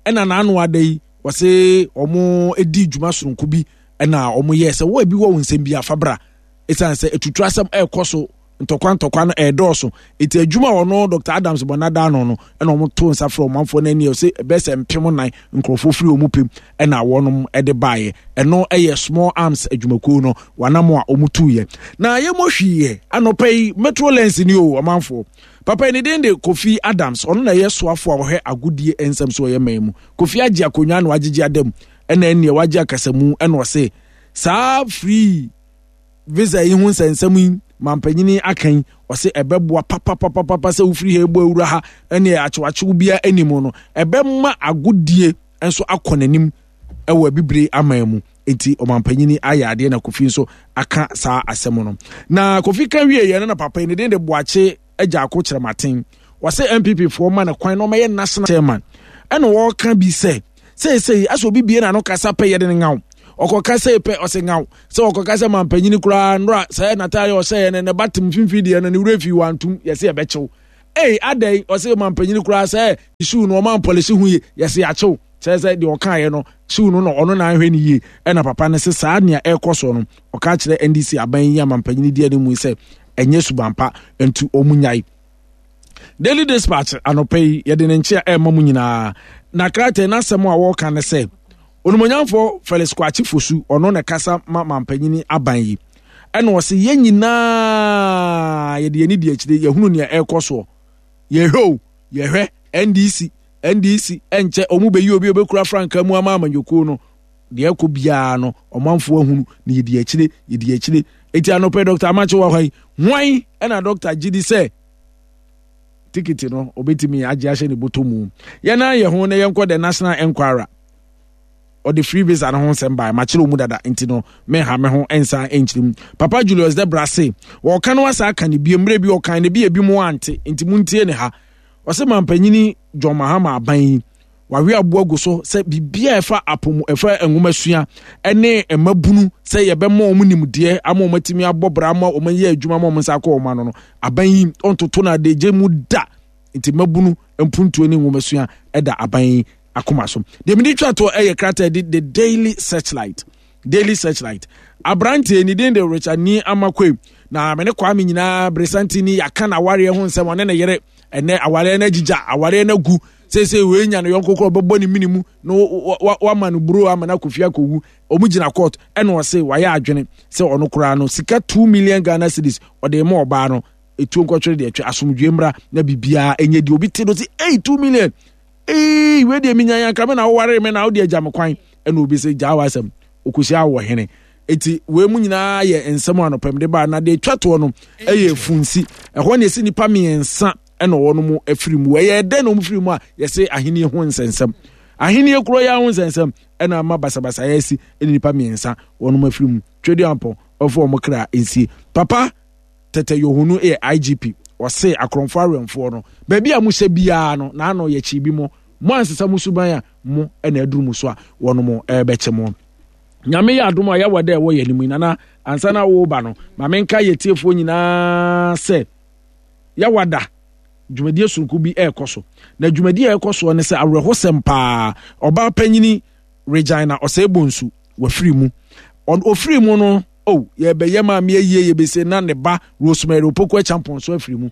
ɛna n'ano ada yi wɔse wɔn di dwuma soronko bi ɛna wɔn yɛ sɛ wɔn ebi wɔ wɔn nsɛm bi afa bra ɛsiane sɛ atutu asɛm ɛrekɔ so ntɔkwa ntɔkwa no ɛredɔɔso eti adwuma a ɔno Dr. Adams bɔ n'ada ano no ɛna wɔn to nsa frɛ ɔmanfoɔ no ani ɔsɛ ɛbɛyɛ sɛ 4000 nkurɔfoɔ firi wɔn pɛm ɛna wɔnom ɛde baeɛ ɛno ɛyɛ small arms adwumakuo no wɔanam a wɔn tuiɛ na yɛmmɔ hwiiɛ anɔpa yi metro lens ni o ɔmanfoɔ papa yi ne din de Kofi Adams ɔno na ɛyɛ soafoɔ a ɔhwɛ agodie nsɛm so ɔyɛ man mu Kofi agye akonnwa na wagyegye adam ɛna ɛneɛ wagye akasamu ɛna ɔse saa free visa yi ho nsɛnsɛm yi mampanyini aka yi Ɔse ɛbɛboa papapapapa sɛ wofiri ha ɛbɔ awura ha ɛne akyewakyew biara anim no, ɛbɛma agodie nso akɔ n'anim ɛwɔ abibire aman mu. Enti ɔmampanyini ayɛ adeɛ na Kofi nso aka saa asɛm no. Na Kofi ka wie yɛ no na papa yi ne din de Boakye Agyarko Kyerematen. Wɔsɛ NPP foɔ ma no kwan na ɔmɛyɛ national chairman. Ɛna wɔka bi sɛ seesei asɛ obi bie n'ano kasa pɛ yɛde no ŋaw. Ɔkɔka sɛ pɛ ɔsɛ ŋaw. Sɛ ɔkɔka sɛ mampanyini koraa nnora sɛ n'ataare ɔhyɛeɛ no ne ba tem mfimfini deɛ no ne werɛ fi wantum yɛsɛ yɛbɛkyew. Ei adɛn ɔsɛ mampanyini koraa sɛ shoe no ɔma mpɔlehye ho yie yɛsɛ yɛakyew. Kyerɛ sɛ deɛ ɔkaeɛ no shoe no na ɔno na anhwɛ no yie. Ɛna papa no sɛ saa nea ɛrekɔ soɔ no ɔka kyerɛ NDC aban yi amampanyini di anim yi sɛ ɛnyɛ suban pa nti wɔn nyae. Daily Dispatch anɔpa yi yɛde ne nkyea ɛrema mu nyinaa na krataa n'asɛm a wɔreka ne sɛ onimonyamfoɔ Felix Kwakye Fosu ɔno na kasa ma mampanyini aban yi ɛna ɔse yɛn nyinaa yɛde yɛn ani di akyire yɛhunu nea ɛrekɔ soɔ yɛhwɛ o yɛhwɛ NDC NDC ɛnkyɛ wɔn bɛyi obi obɛkura frankaa mu ama amanyɔkuo no deɛ ɛkɔ biara no ɔmanfoɔ ahunu na yɛdi akyire yɛdi akyire eti anɔpɛ dɔkta amakye wɔ hɔ yi hwan ɛna dɔkta gye di sɛ tikiti no obetumi agye ahyɛ ne bɔtɔ mu yɛn nan yɛ ho na yɛnkɔ the national enquirer ɔde free visa no ho nsɛm baa makyerɛ mu dada nti no menha me ho nsa nkyerɛ mu papa julius debra se wɔka no asa aka ne bie mmerɛ bi ɔkan ne bi ebi mu ante nti muntie ne ha ɔse mampanyini john mahama aban yi Wawe aboa gu so sɛ biribiara a ɛfa apɔmu ɛfa nwomasua ne mmabunu sɛ yɛbɛma wɔn nimdeɛ ama wɔn atumi abɔ bra ama wɔn ayɛ adwuma ama wɔn nsa akɔ wɔn ano no aban yi ɔntoto no adagye mu da nti mmabunu mpuntuo ne nwomasua ɛda aban yi akoma so deɛ mede twa toɔ ɛyɛ krataa di the daily searchlight daily searchlight aberanteɛ ne din de richard ni amakwe na me ne kwame nyinaa beresanti ni yɛaka na awareɛ ho nsɛm ɔne ne yere ɛnɛ awareɛ no agyigya awareɛ no agu seesei wei nya ne yɔnko korɔ ɔbɛbɔ ne mene mu na wama no buro ama no akɔfie akɔwu ɔmo gyina court ɛna ɔse wayɛ adwene sɛ ɔno koraa no sika 2 million Ghana cedis ɔde ma ɔbaa no ɛtuo nkɔtwere deɛ ɛtwe asomdwe mmra na biribiara ɛnyɛ deɛ obi te no se ei 2 million ei wei deɛ menya yanka me na woware me na wode agya me kwan ɛna obi sɛ gyaa w'asɛm ɔkɔhyia wɔ hene eti wei mu nyinaa yɛ nsɛm anɔpɛm de baa na deɛ ɛtwa toɔ no ɛyɛ funsi ɛhɔ ne ɛsi nnipa mmiɛnsa ɛna wɔn mu afiri mu ɛyɛ dɛn na wɔn firi mu a yɛsɛ ahenni ho nsɛnsɛm ahenni kuro yɛ ho nsɛnsɛm ɛna ama basabasa yɛ asi ɛne nipa mmiɛnsa wɔn mu afiri mu twɛdi ampɔn ɔfo wɔn kra nsie papa tɛtɛ yohunu yɛ igp ɔse akorɔmfo awɛmfoɔ no baabi a mo hyɛ biara no n'ano yɛ kyi bi mo mo ansesa mo suban a mo ɛna aduru mo so a wɔn mo ɛbɛkyɛ mo nyame yɛ adom a yɛwɔ dɛ ɛwɔ yɛn anim yi nana ansa na woba no ma menka yɛ tiefoɔ nyinaa sɛ Yawada dwumadie soronko bi ɛrekɔ so. Na dwumadie a ɛrekɔ soɔ ne sɛ awerɛhosɛm paa. Ɔbaa panyini Regina Osei-Bonsu wafiri mu. Ɔfiri mu no, oh, yɛbɛyɛ maame ayie yɛbɛsie na ne ba Rosemary Opoku Acheampong nso afiri mu.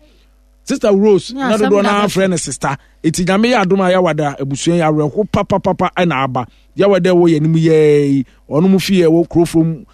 Sister Rose na dodoɔ no afrɛ no sister. Eti nyame yɛ adom a Yawada abusua yi awerɛho papapapa ɛna aba. Yawada ɛwɔ yɛn anim yɛɛ yi, ɔno mu fie ɛwɔ kurofrom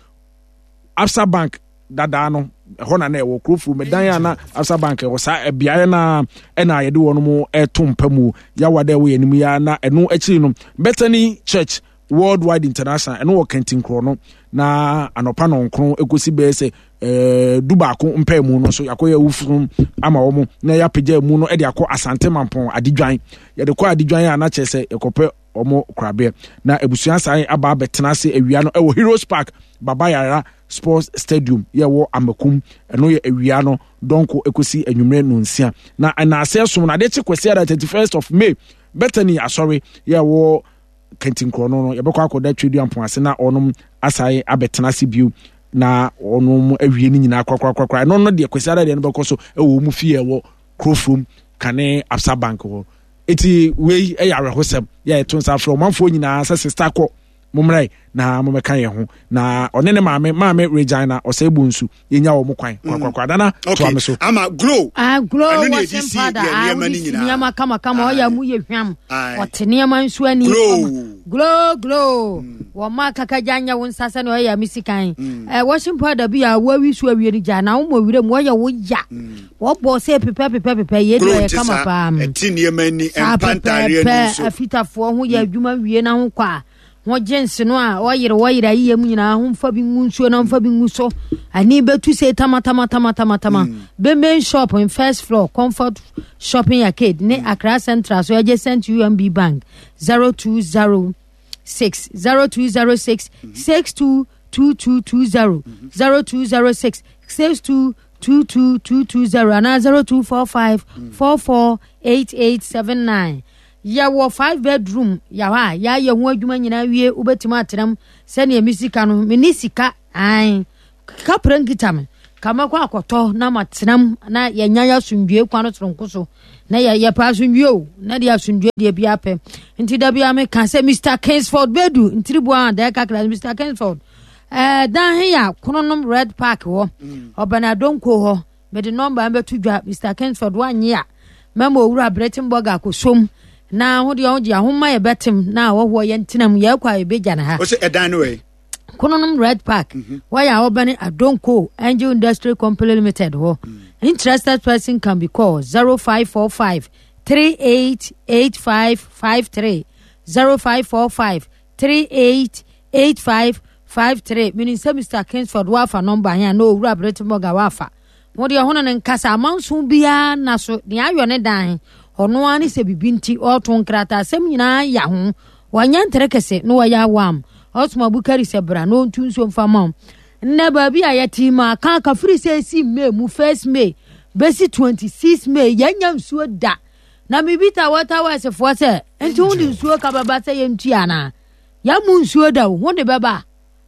Absa Bank dadaa no ɛhɔ na na ɛwɔ kurofuro mɛdan a na Absa Bank ɛwɔ saa beaeɛ na ɛna yɛde wɔn mo ɛto mpa mu yawa dɛ ɛwɔ yɛn anim ya na ɛno akyiri no Bethany Church Worldwide International ɛno wɔ Kantinkorɔ no na anɔpa nɔnkron ɛkɔsi bɛyɛ sɛ ɛɛ du baako mpaa mu no nso yɛakɔyɛ awufosom ama wɔn na yɛapagya mu no ɛde akɔ Asante Mampɔn Adidwan yɛde kɔ Adidwan a na kyerɛ sɛ yɛkɔpɛ wɔn korabea na abusua san aba abɛtena ase awia no ɛwɔ Heroes Park Baba Yara Sports Stadium yɛ wɔ Amakum ɛno yɛ awia no dɔnko ekosi anwummerɛ nonsia na ɛnaase ɛsom no adeɛ kye kwasi ara 31st of May Bethany asɔre yɛ wɔ kantinkorɔ no no yɛbɛkɔ akɔda Tweduampɔn ase na ɔnom asan abɛtena ase bio na ɔnom awie no nyinaa korakorakorakora ɛno no deɛ kwasi ara deɛ no bɛkɔ so ɛwɔ wɔn fie ɛwɔ kurofurom kane Absa Bank hɔ Eti wei yɛ awerɛhosɛm yɛ ɛto nsa frɛ ɔmanfoɔ nyinaa sɛ sista kɔ mommrɛ na mommɛka yɛn ho na ɔne ne maame maame Regina ɔsɛe bonsu yɛnya wɔn kwan mm. kwakwakwa nana okay. toa me so. Ama glow. Ah glow washing powder ah wode si nneɛma kamakama ɔyɛ mu yɛ hwam ɔte nneɛma nso ani glow glow glow mm. wɔn ma kakagya nyɛ wo nsa sɛnea ɔyɛ me sikan mm. eh, washing powder bi a wɔawi so awie no gya na womɔ werɛ mu ɔyɛ wo ya mm. Wɔbɔ sɛ pepɛ pepɛ pepɛ yɛ deɛ ɔyɛ kama paa. Ɛte nneɛma ani, ɛmpa ntaareɛ ani nso. Afitafoɔ ho yɛ adwuma wie na ho kɔ a. Ho jeans no a ɔyere wɔyere ayiyɛ mu nyinaa ho mfa bi ngu nsuo na mfa bi ngu so. Ani bɛtu se tama tama tama tama tama. Bemben shop in first floor Comfort Shopping Arcade ne Accra Central so adjacent UMB Bank 020 6 0206 62 2220 0206 62 22220 anaa 0245 448879. Yɛwɔ 5 bedroom yɛ hɔ a yɛayɛ ho adwuma nyinaa wie, wobɛtumi atena mu sɛdeɛ me sika no, menni sika ae kaprɛ nkita me ka mɛkɔ akɔtɔ na matena mu na yɛnya yɛ asomdwoe kwan no soronko so na yɛpɛ asomdwoe o, na deɛ asomdwoe deɛ bi apɛ nti da bia meka sɛ Mr. Kingsford Bedu ntiriboa a dɛɛ kakra Mr. Kingsford ɛɛ dan he yɛ Kronom Red Park hɔ, ɔbɛn Adonko hɔ. Mede nɔmba no bɛto dwa. Mr. Kingsford wanye a mɛma owura Brettenburg akɔsom na ho deɛ ɔgye ahoma yɛ bɛtem na awɔhoɔ yɛ ntenam yɛkɔ a yɛbɛgya no ha. Ɔsɛ ɛdan no wɛ? Kronom Red Park. Wɔyɛ a wɔbɛne Adonko Angel Industry Company Limited hɔ. Interested person can be called 0545 388553 0545 388553. Menim sɛ Mr. Kingsford woafa nɔmba he a na owura Brettenburg woafa. Ho deɛ ho ne no nkasa amanso biara na so deɛ ayɔ ne dan he ɔno ara ne sɛ bibi nti ɔɔto nkrataa asɛm nyinaa ya ho wanyɛ ntere kɛse na wɔyɛ awam ɔsoma Bukari sɛ bra na ɔntu nsuo mfa ma wo. Nnɛ baabi a yɛte ma aka aka firi sɛ ɛsi May mu 1st May bɛsi 26 May yɛnya nsuo da. Na mebisa water works foɔ sɛ nti ho de nsuo ka bɛba sɛ yɛntua anaa? Yɛmmu nsuo da o, ho de bɛba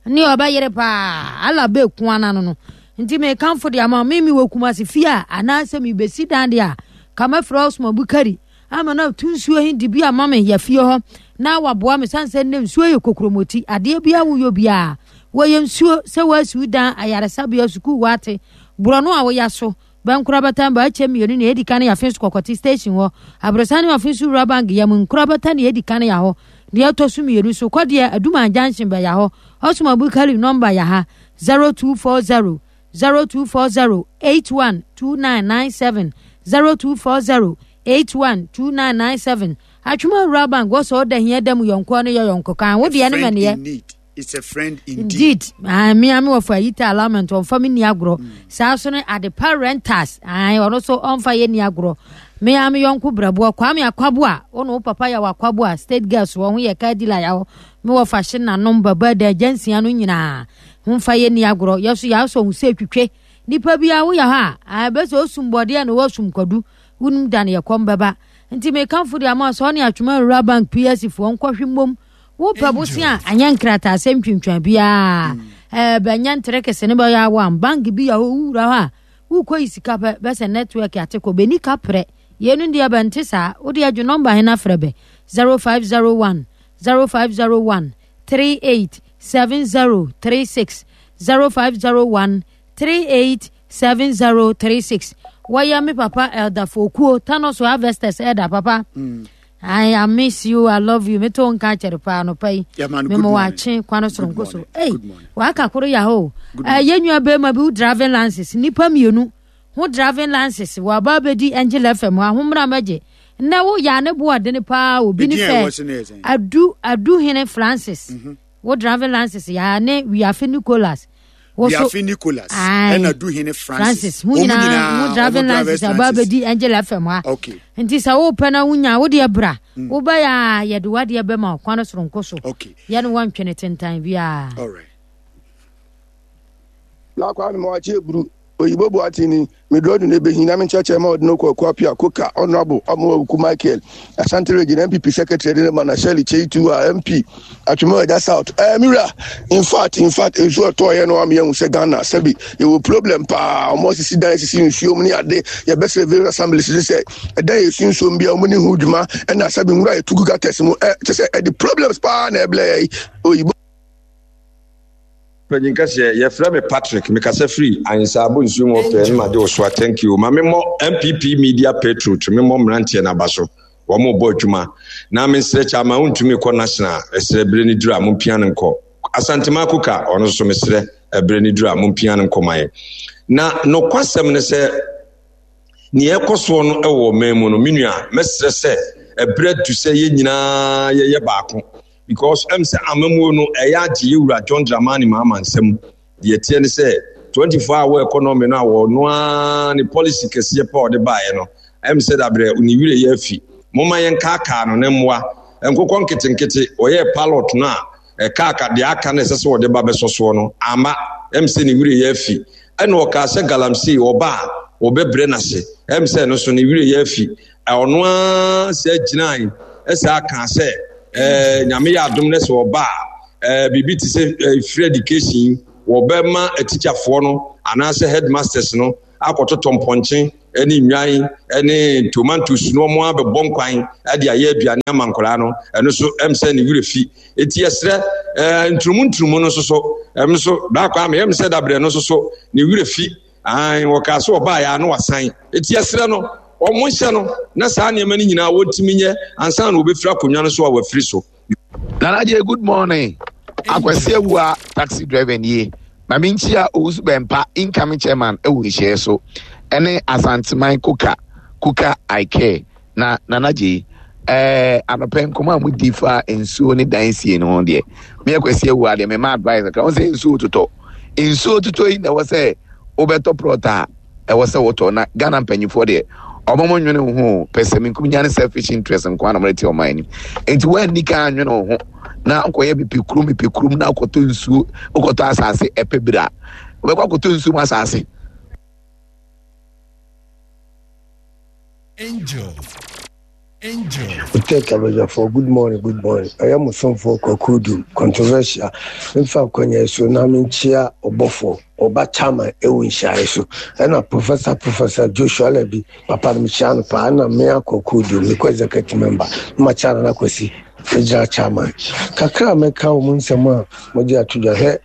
ne ɔbɛyere paa ala bɛku ana no no. Nti mekamfo de ama me mewɔ Kumasi fie a anaasɛ mebɛsi dan de a ka mɛfrɛ Osman Bukari ama no atu nsuo he de bi ama me yɛ fie hɔ na waboa me sane sɛ nnɛ nsuo yɛ kokromoti adeɛ biara woyɔ biara wɔyɛ nsuo sɛ woasi wo dan ayaresabea sukuu wate borɔno a woya so Bɛnkorabata Mbaakyɛ mmienu nea edi kan yɛ Afenso Kɔkɔte Station hɔ, Aborosan ne Afenso Rural Bank yam Nkorabata nea edi kan yɛ hɔ, deɛ ɛtɔ so mmienu so kɔ deɛ Aduman Junction bɛya hɔ. Osman Abukari nɔmba yɛ ha, 0240 0240 812997 0240 812997. Atwema Rural Bank wɔ sɛ ɔda hia da mu yɔnkoɔ no yɛ yɔnko kan wo deɛ no mɛneɛ. It's a friend indeed. Indeed. Ah, me ame wɔfa ayita alignment ɔmfa me ni agorɔ. Saa so ne adepa renters. Ah, ɔno so ɔmfa yɛ ni agorɔ. Me ame yɔnko brɛboɔ Kwame Akwaboa. Wo ne wo papa yɛ wɔ Akwaboa state girls wɔ ho yɛ car dealer yɛ hɔ. Me wɔfa hye nanom baba da agyansia no nyinaa. Ho mfa yɛ ni agorɔ. Yɛ so yɛ asɔ ho sɛ twitwe. Nipa bi a woyɛ hɔ a, ah, bɛsɛ osum bɔdeɛ na wɔsum kwadu. Wonim da ne yɛ kɔm bɛba. Nti mekamfo de ama sɛ ɔne Atwoma Rural Bank PSC foɔ nkɔhwe mmom. Wopɛ bosea a, anyɛ nkrataasɛm twintwan biara. Ɛɛ bɛnyɛ ntere kese ne bɛyɛ awam. Bank bi yɛ hɔ, wowura hɔ a, wokɔ yi sika pɛ, bɛsɛ network ate kɔ. Bɛni ka prɛ. Yeinom deɛ bɛnte saa. Wode adwo nɔmba he na frɛ bɛ. 0501 0501 38 7036 0501 38 7036. Wɔyɛ me papa Elder Fokuo, Thanos Harvesters Elder papa. Mm. I, I miss you, I love you. Me to nka kyerɛ paa no pa yi. Me mo wakye kwan soronko so. Ei, waka koro ya ho. Eh, yɛn nua bɛrima bi wo driving license nipa mmienu ho driving license wɔ aba abɛdi Angel FM hɔ ahommra mɛgye. Nnɛ wo ya ne bo ɔdene paa obi ne fɛ. Adu Adu Hene Francis. Mm -hmm. Wo driving license ya ne Wiafe Nicholas. Wiafe Nicholas ɛna Duhene Francis. Francis ho nyinaa ho driving license aba abɛdi Angel FM ha. Okay. Nti sɛ wopɛ na wonya wo deɛ bra. Mm. Wobɛyɛ a yɛde wadeɛ bɛma kwan soronko so. Okay. Yɛne wɔntwene tentan biara. All right. Na Kwame Mawakye Eburu, Oyibo Boateng ni, Meduro du n'ebehin na me nkyerɛkyerɛ ma ɔde no kɔ Akuapia, Koka, Honourable Amoah Michael, Ashanti Region NPP Secretary de ne ma na Shirley Kyei Tuah, MP, Atwima Agya South. Eh, me wura, in fact, in fact, nsuo ɛtɔɔyɛ no ama yɛhu sɛ Ghana, sɛbi, yɛwɔ problem paa, wɔn asisi dan asisi nsuo mu ne ade, yɛbɛsrɛ various assemblies ne sɛ, ɛdan yɛsi nsuo mu bia wɔn ne ho dwuma, ɛna sɛbi nwura yɛtu gu gutters mu, ɛ, kyɛ sɛ ɛde problems paa na ɛblɛ yɛ yi, Oyibo. Panyin kɛseɛ, yɛfrɛ me Patrick, mekasa firi Ahensaabo nsuo mu ɔpɛ no magye wo soa, thank you. Ma memmɔ NPP media patriot, memmɔ mmeranteɛ no aba so, wɔn rebɔ adwuma. Na mesrɛ Kyama wontumi kɔ national, mesrɛ berɛ no duru a mompia no nkɔ. Asantema Kuka, ɔno nso mesrɛ ɛberɛ no duru a mompia no nkɔ ma yɛn. Na nokwasɛm ne sɛ, nea ɛkɔ soɔ no wɔ ɔman mu no, me nua, mɛsrɛ sɛ ɛberɛ adu sɛ yɛn nyinaa yɛyɛ baako. Because ɛm sɛ amamuo no ɛyɛ agye yɛ wura John Dramani Mahama nsam. Deɛ ɛteɛ ne sɛ 24 hour economy no a wɔno ara ne policy kɛseɛ pa ɔde baeɛ no ɛm sɛ dabrɛ ne werɛ yɛ afi. Momma yɛnkaakaa no ne mmoa. Nkokɔ nketenkete ɔyɛɛ pilot no a ɛkaaka deɛ aka no ɛsɛ sɛ ɔde ba bɛsɔ soɔ no amma. Ɛm sɛ ne werɛ yɛ afi. Ɛna ɔkaa sɛ galamsey ɔba a wɔbɛbrɛ no ase. Ɛm sɛ ɛno so ne werɛ yɛ afi. Ɔno ara sɛ gyinae ɛsaa kaa sɛ ɛɛ nyame yɛ adom no sɛ ɔba a ɛɛ biribi te sɛ ɛɛ free education wɔbɛma atikyafoɔ no anaasɛ headmasters no akɔtotɔ mpɔnkye ne nnwan ne tomatoes no wɔn abɛbɔ nkwan de ayɛ aduane ama nkwadaa no ɛno nso ɛm sɛ ne werɛ fi eti ɛsrɛ ɛɛ nturumu nturumu no nso so ɛm nso baako ama ɛm sɛ dabrɛ no nso so ne werɛ fi Aane, wɔkaa sɛ ɔbaeɛ a na wasan. Enti yɛsrɛ no, wɔnhyɛ no na saa nneɛma no nyinaa wɔntumi nyɛ ansa na wɔbɛfiri akonnwa no so a wafiri so. Nana Adjei good morning. Akwasi Awua taxi driver nie. Ma me nkyia Owusu Bɛmpa incoming chairman ɛwɔ nhyiaɛ so ɛne Asanteman Kuka Kuka I care na Nana Adjei ɛɛ anɔpɛ nkɔmɔ a mo di fa nsuo ne dan sie no ho deɛ me Akwasi Awua deɛ me ma advice kakra wɔn sɛ nsuo totɔ Nsuo totɔ yi na ɛwɔ sɛ wobɛtɔ prɔt a ɛwɔ sɛ wotɔ na Ghana mpanyinfoɔ deɛ ɔmo mo nwene wo ho pɛsɛmenkominya ne selfish interest nko ara na ɔmo de te ɔman anim nti woanni kan anwene wo ho na nkɔyɛ mepɛ kurom mepɛ kurom na akɔtɔ nsuo wokɔtɔ asase ɛpɛ bira wobɛkɔ akɔtɔ nsuo mu asase. Angel. Tech abadwafoɔ good morning good morning ɛyɛ mo somfoɔ Kwaku Odum controversial mfa akwanya yi so na menkyia ɔbɔfoɔ ɔba chairman ɛwɔ nhyiaeɛ so ɛna professor professor Joshua Alabi papa no mekyia no paa ɛna mea Kwaku Odum mekɔ executive member na makyia Nana Kwasi regional chairman kakra a mɛka wɔ mo nsɛm a mode ato dwa hwɛ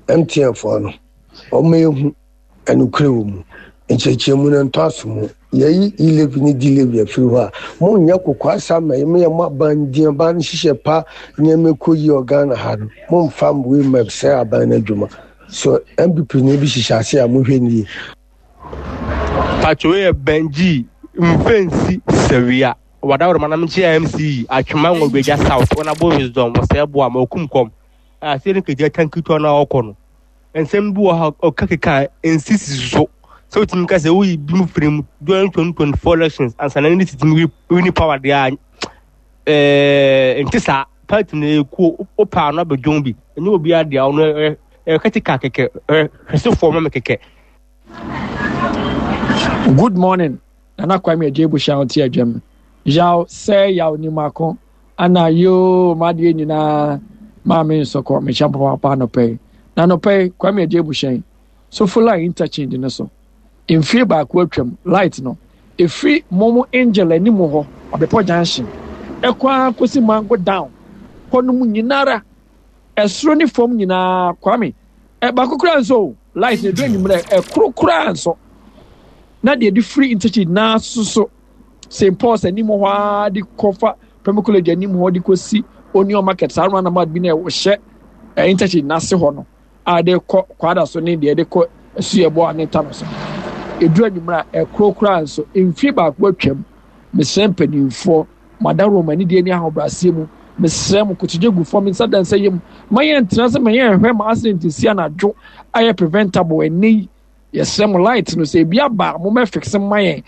MTN foɔ no wɔn ehu Nokorɛ wɔ mu. Nkyerɛkyerɛmu no ntɔ aso mu. Yɛayi E-levy ne D-levy afiri hɔ a, monyɛ kokoasɛm ma yɛn, moyɛ mo aban din, aban no nhyehyɛ pa, nneɛma ɛkɔ yie wɔ Ghana ha no, momfa wei mma sɛe aban no adwuma. So NPP ni bi hyehyɛ ase a, monhwɛ no yie. Pacho wei yɛ Benji Mfensi Sawia Wadaworo manam nkyia MC Atwema Ngogbeja South wɔn abo wisdom wɔsɛɛ boa ma okum kɔm a sɛ ne kegya tanki tɔ na ɔkɔ no nsɛm bi wɔ ha ɔka keka nsisi so sɛ wotumi ka sɛ woyi bi mu firi mu during 2024 elections ansa na ne titimi wini power deɛ a ɛɛ nte saa party no ekuo wopɛ ano abɛdwon bi ɛnyɛ obi adeɛ ɔno ɛyɛ ɛyɛ kɛteka kɛkɛ ɛyɛ hwɛsefoɔ ma me kɛkɛ. Good morning Nana Kwame Adjei Bushia ɔte adwam yaw sɛ yaw nimako ana yoo m'adeɛ nyinaa maame nsɔkɔ mehyɛ papaapa anɔpɛ yi na anɔpɛ yi Kwame Adjei Bushia sofo line interchange no so mfie baako atwam light no ɛfiri momo angel anim hɔ ɔbepɔ junction ɛkɔ ara kɔsi mango down hɔ no mu nyinara ɛsoro ne fam nyinaa Kwame ɛ baako koraa nso o light na edu enyimrɛ ɛkoro koraa nso na deɛ de firi interchange naa soso St Paul's anim hɔ ara de kɔfa Premier College anim hɔ de kɔsi Onion Market saa roundabout bi na ɛhyɛ ɛ interchange n'ase hɔ no a de kɔ kwada so ne deɛ de kɔ asuyɛbɔ a ne ta no so edu enyimrɛ a ɛkoro koraa nso mfie baako atwam mesrɛ mpanimfoɔ Mo adaworoma anidie ne ahobrɛaseɛ mu, mesrɛ mo, kotodwe gu fam, nsa da nsa yam, ma yɛntena ase ma yɛnhwɛ ma accident nsi anadwo ayɛ preventable ɛnnɛ yi. Yɛsrɛ mo light no sɛ ebi aba a mommɛ fixe mma yɛn.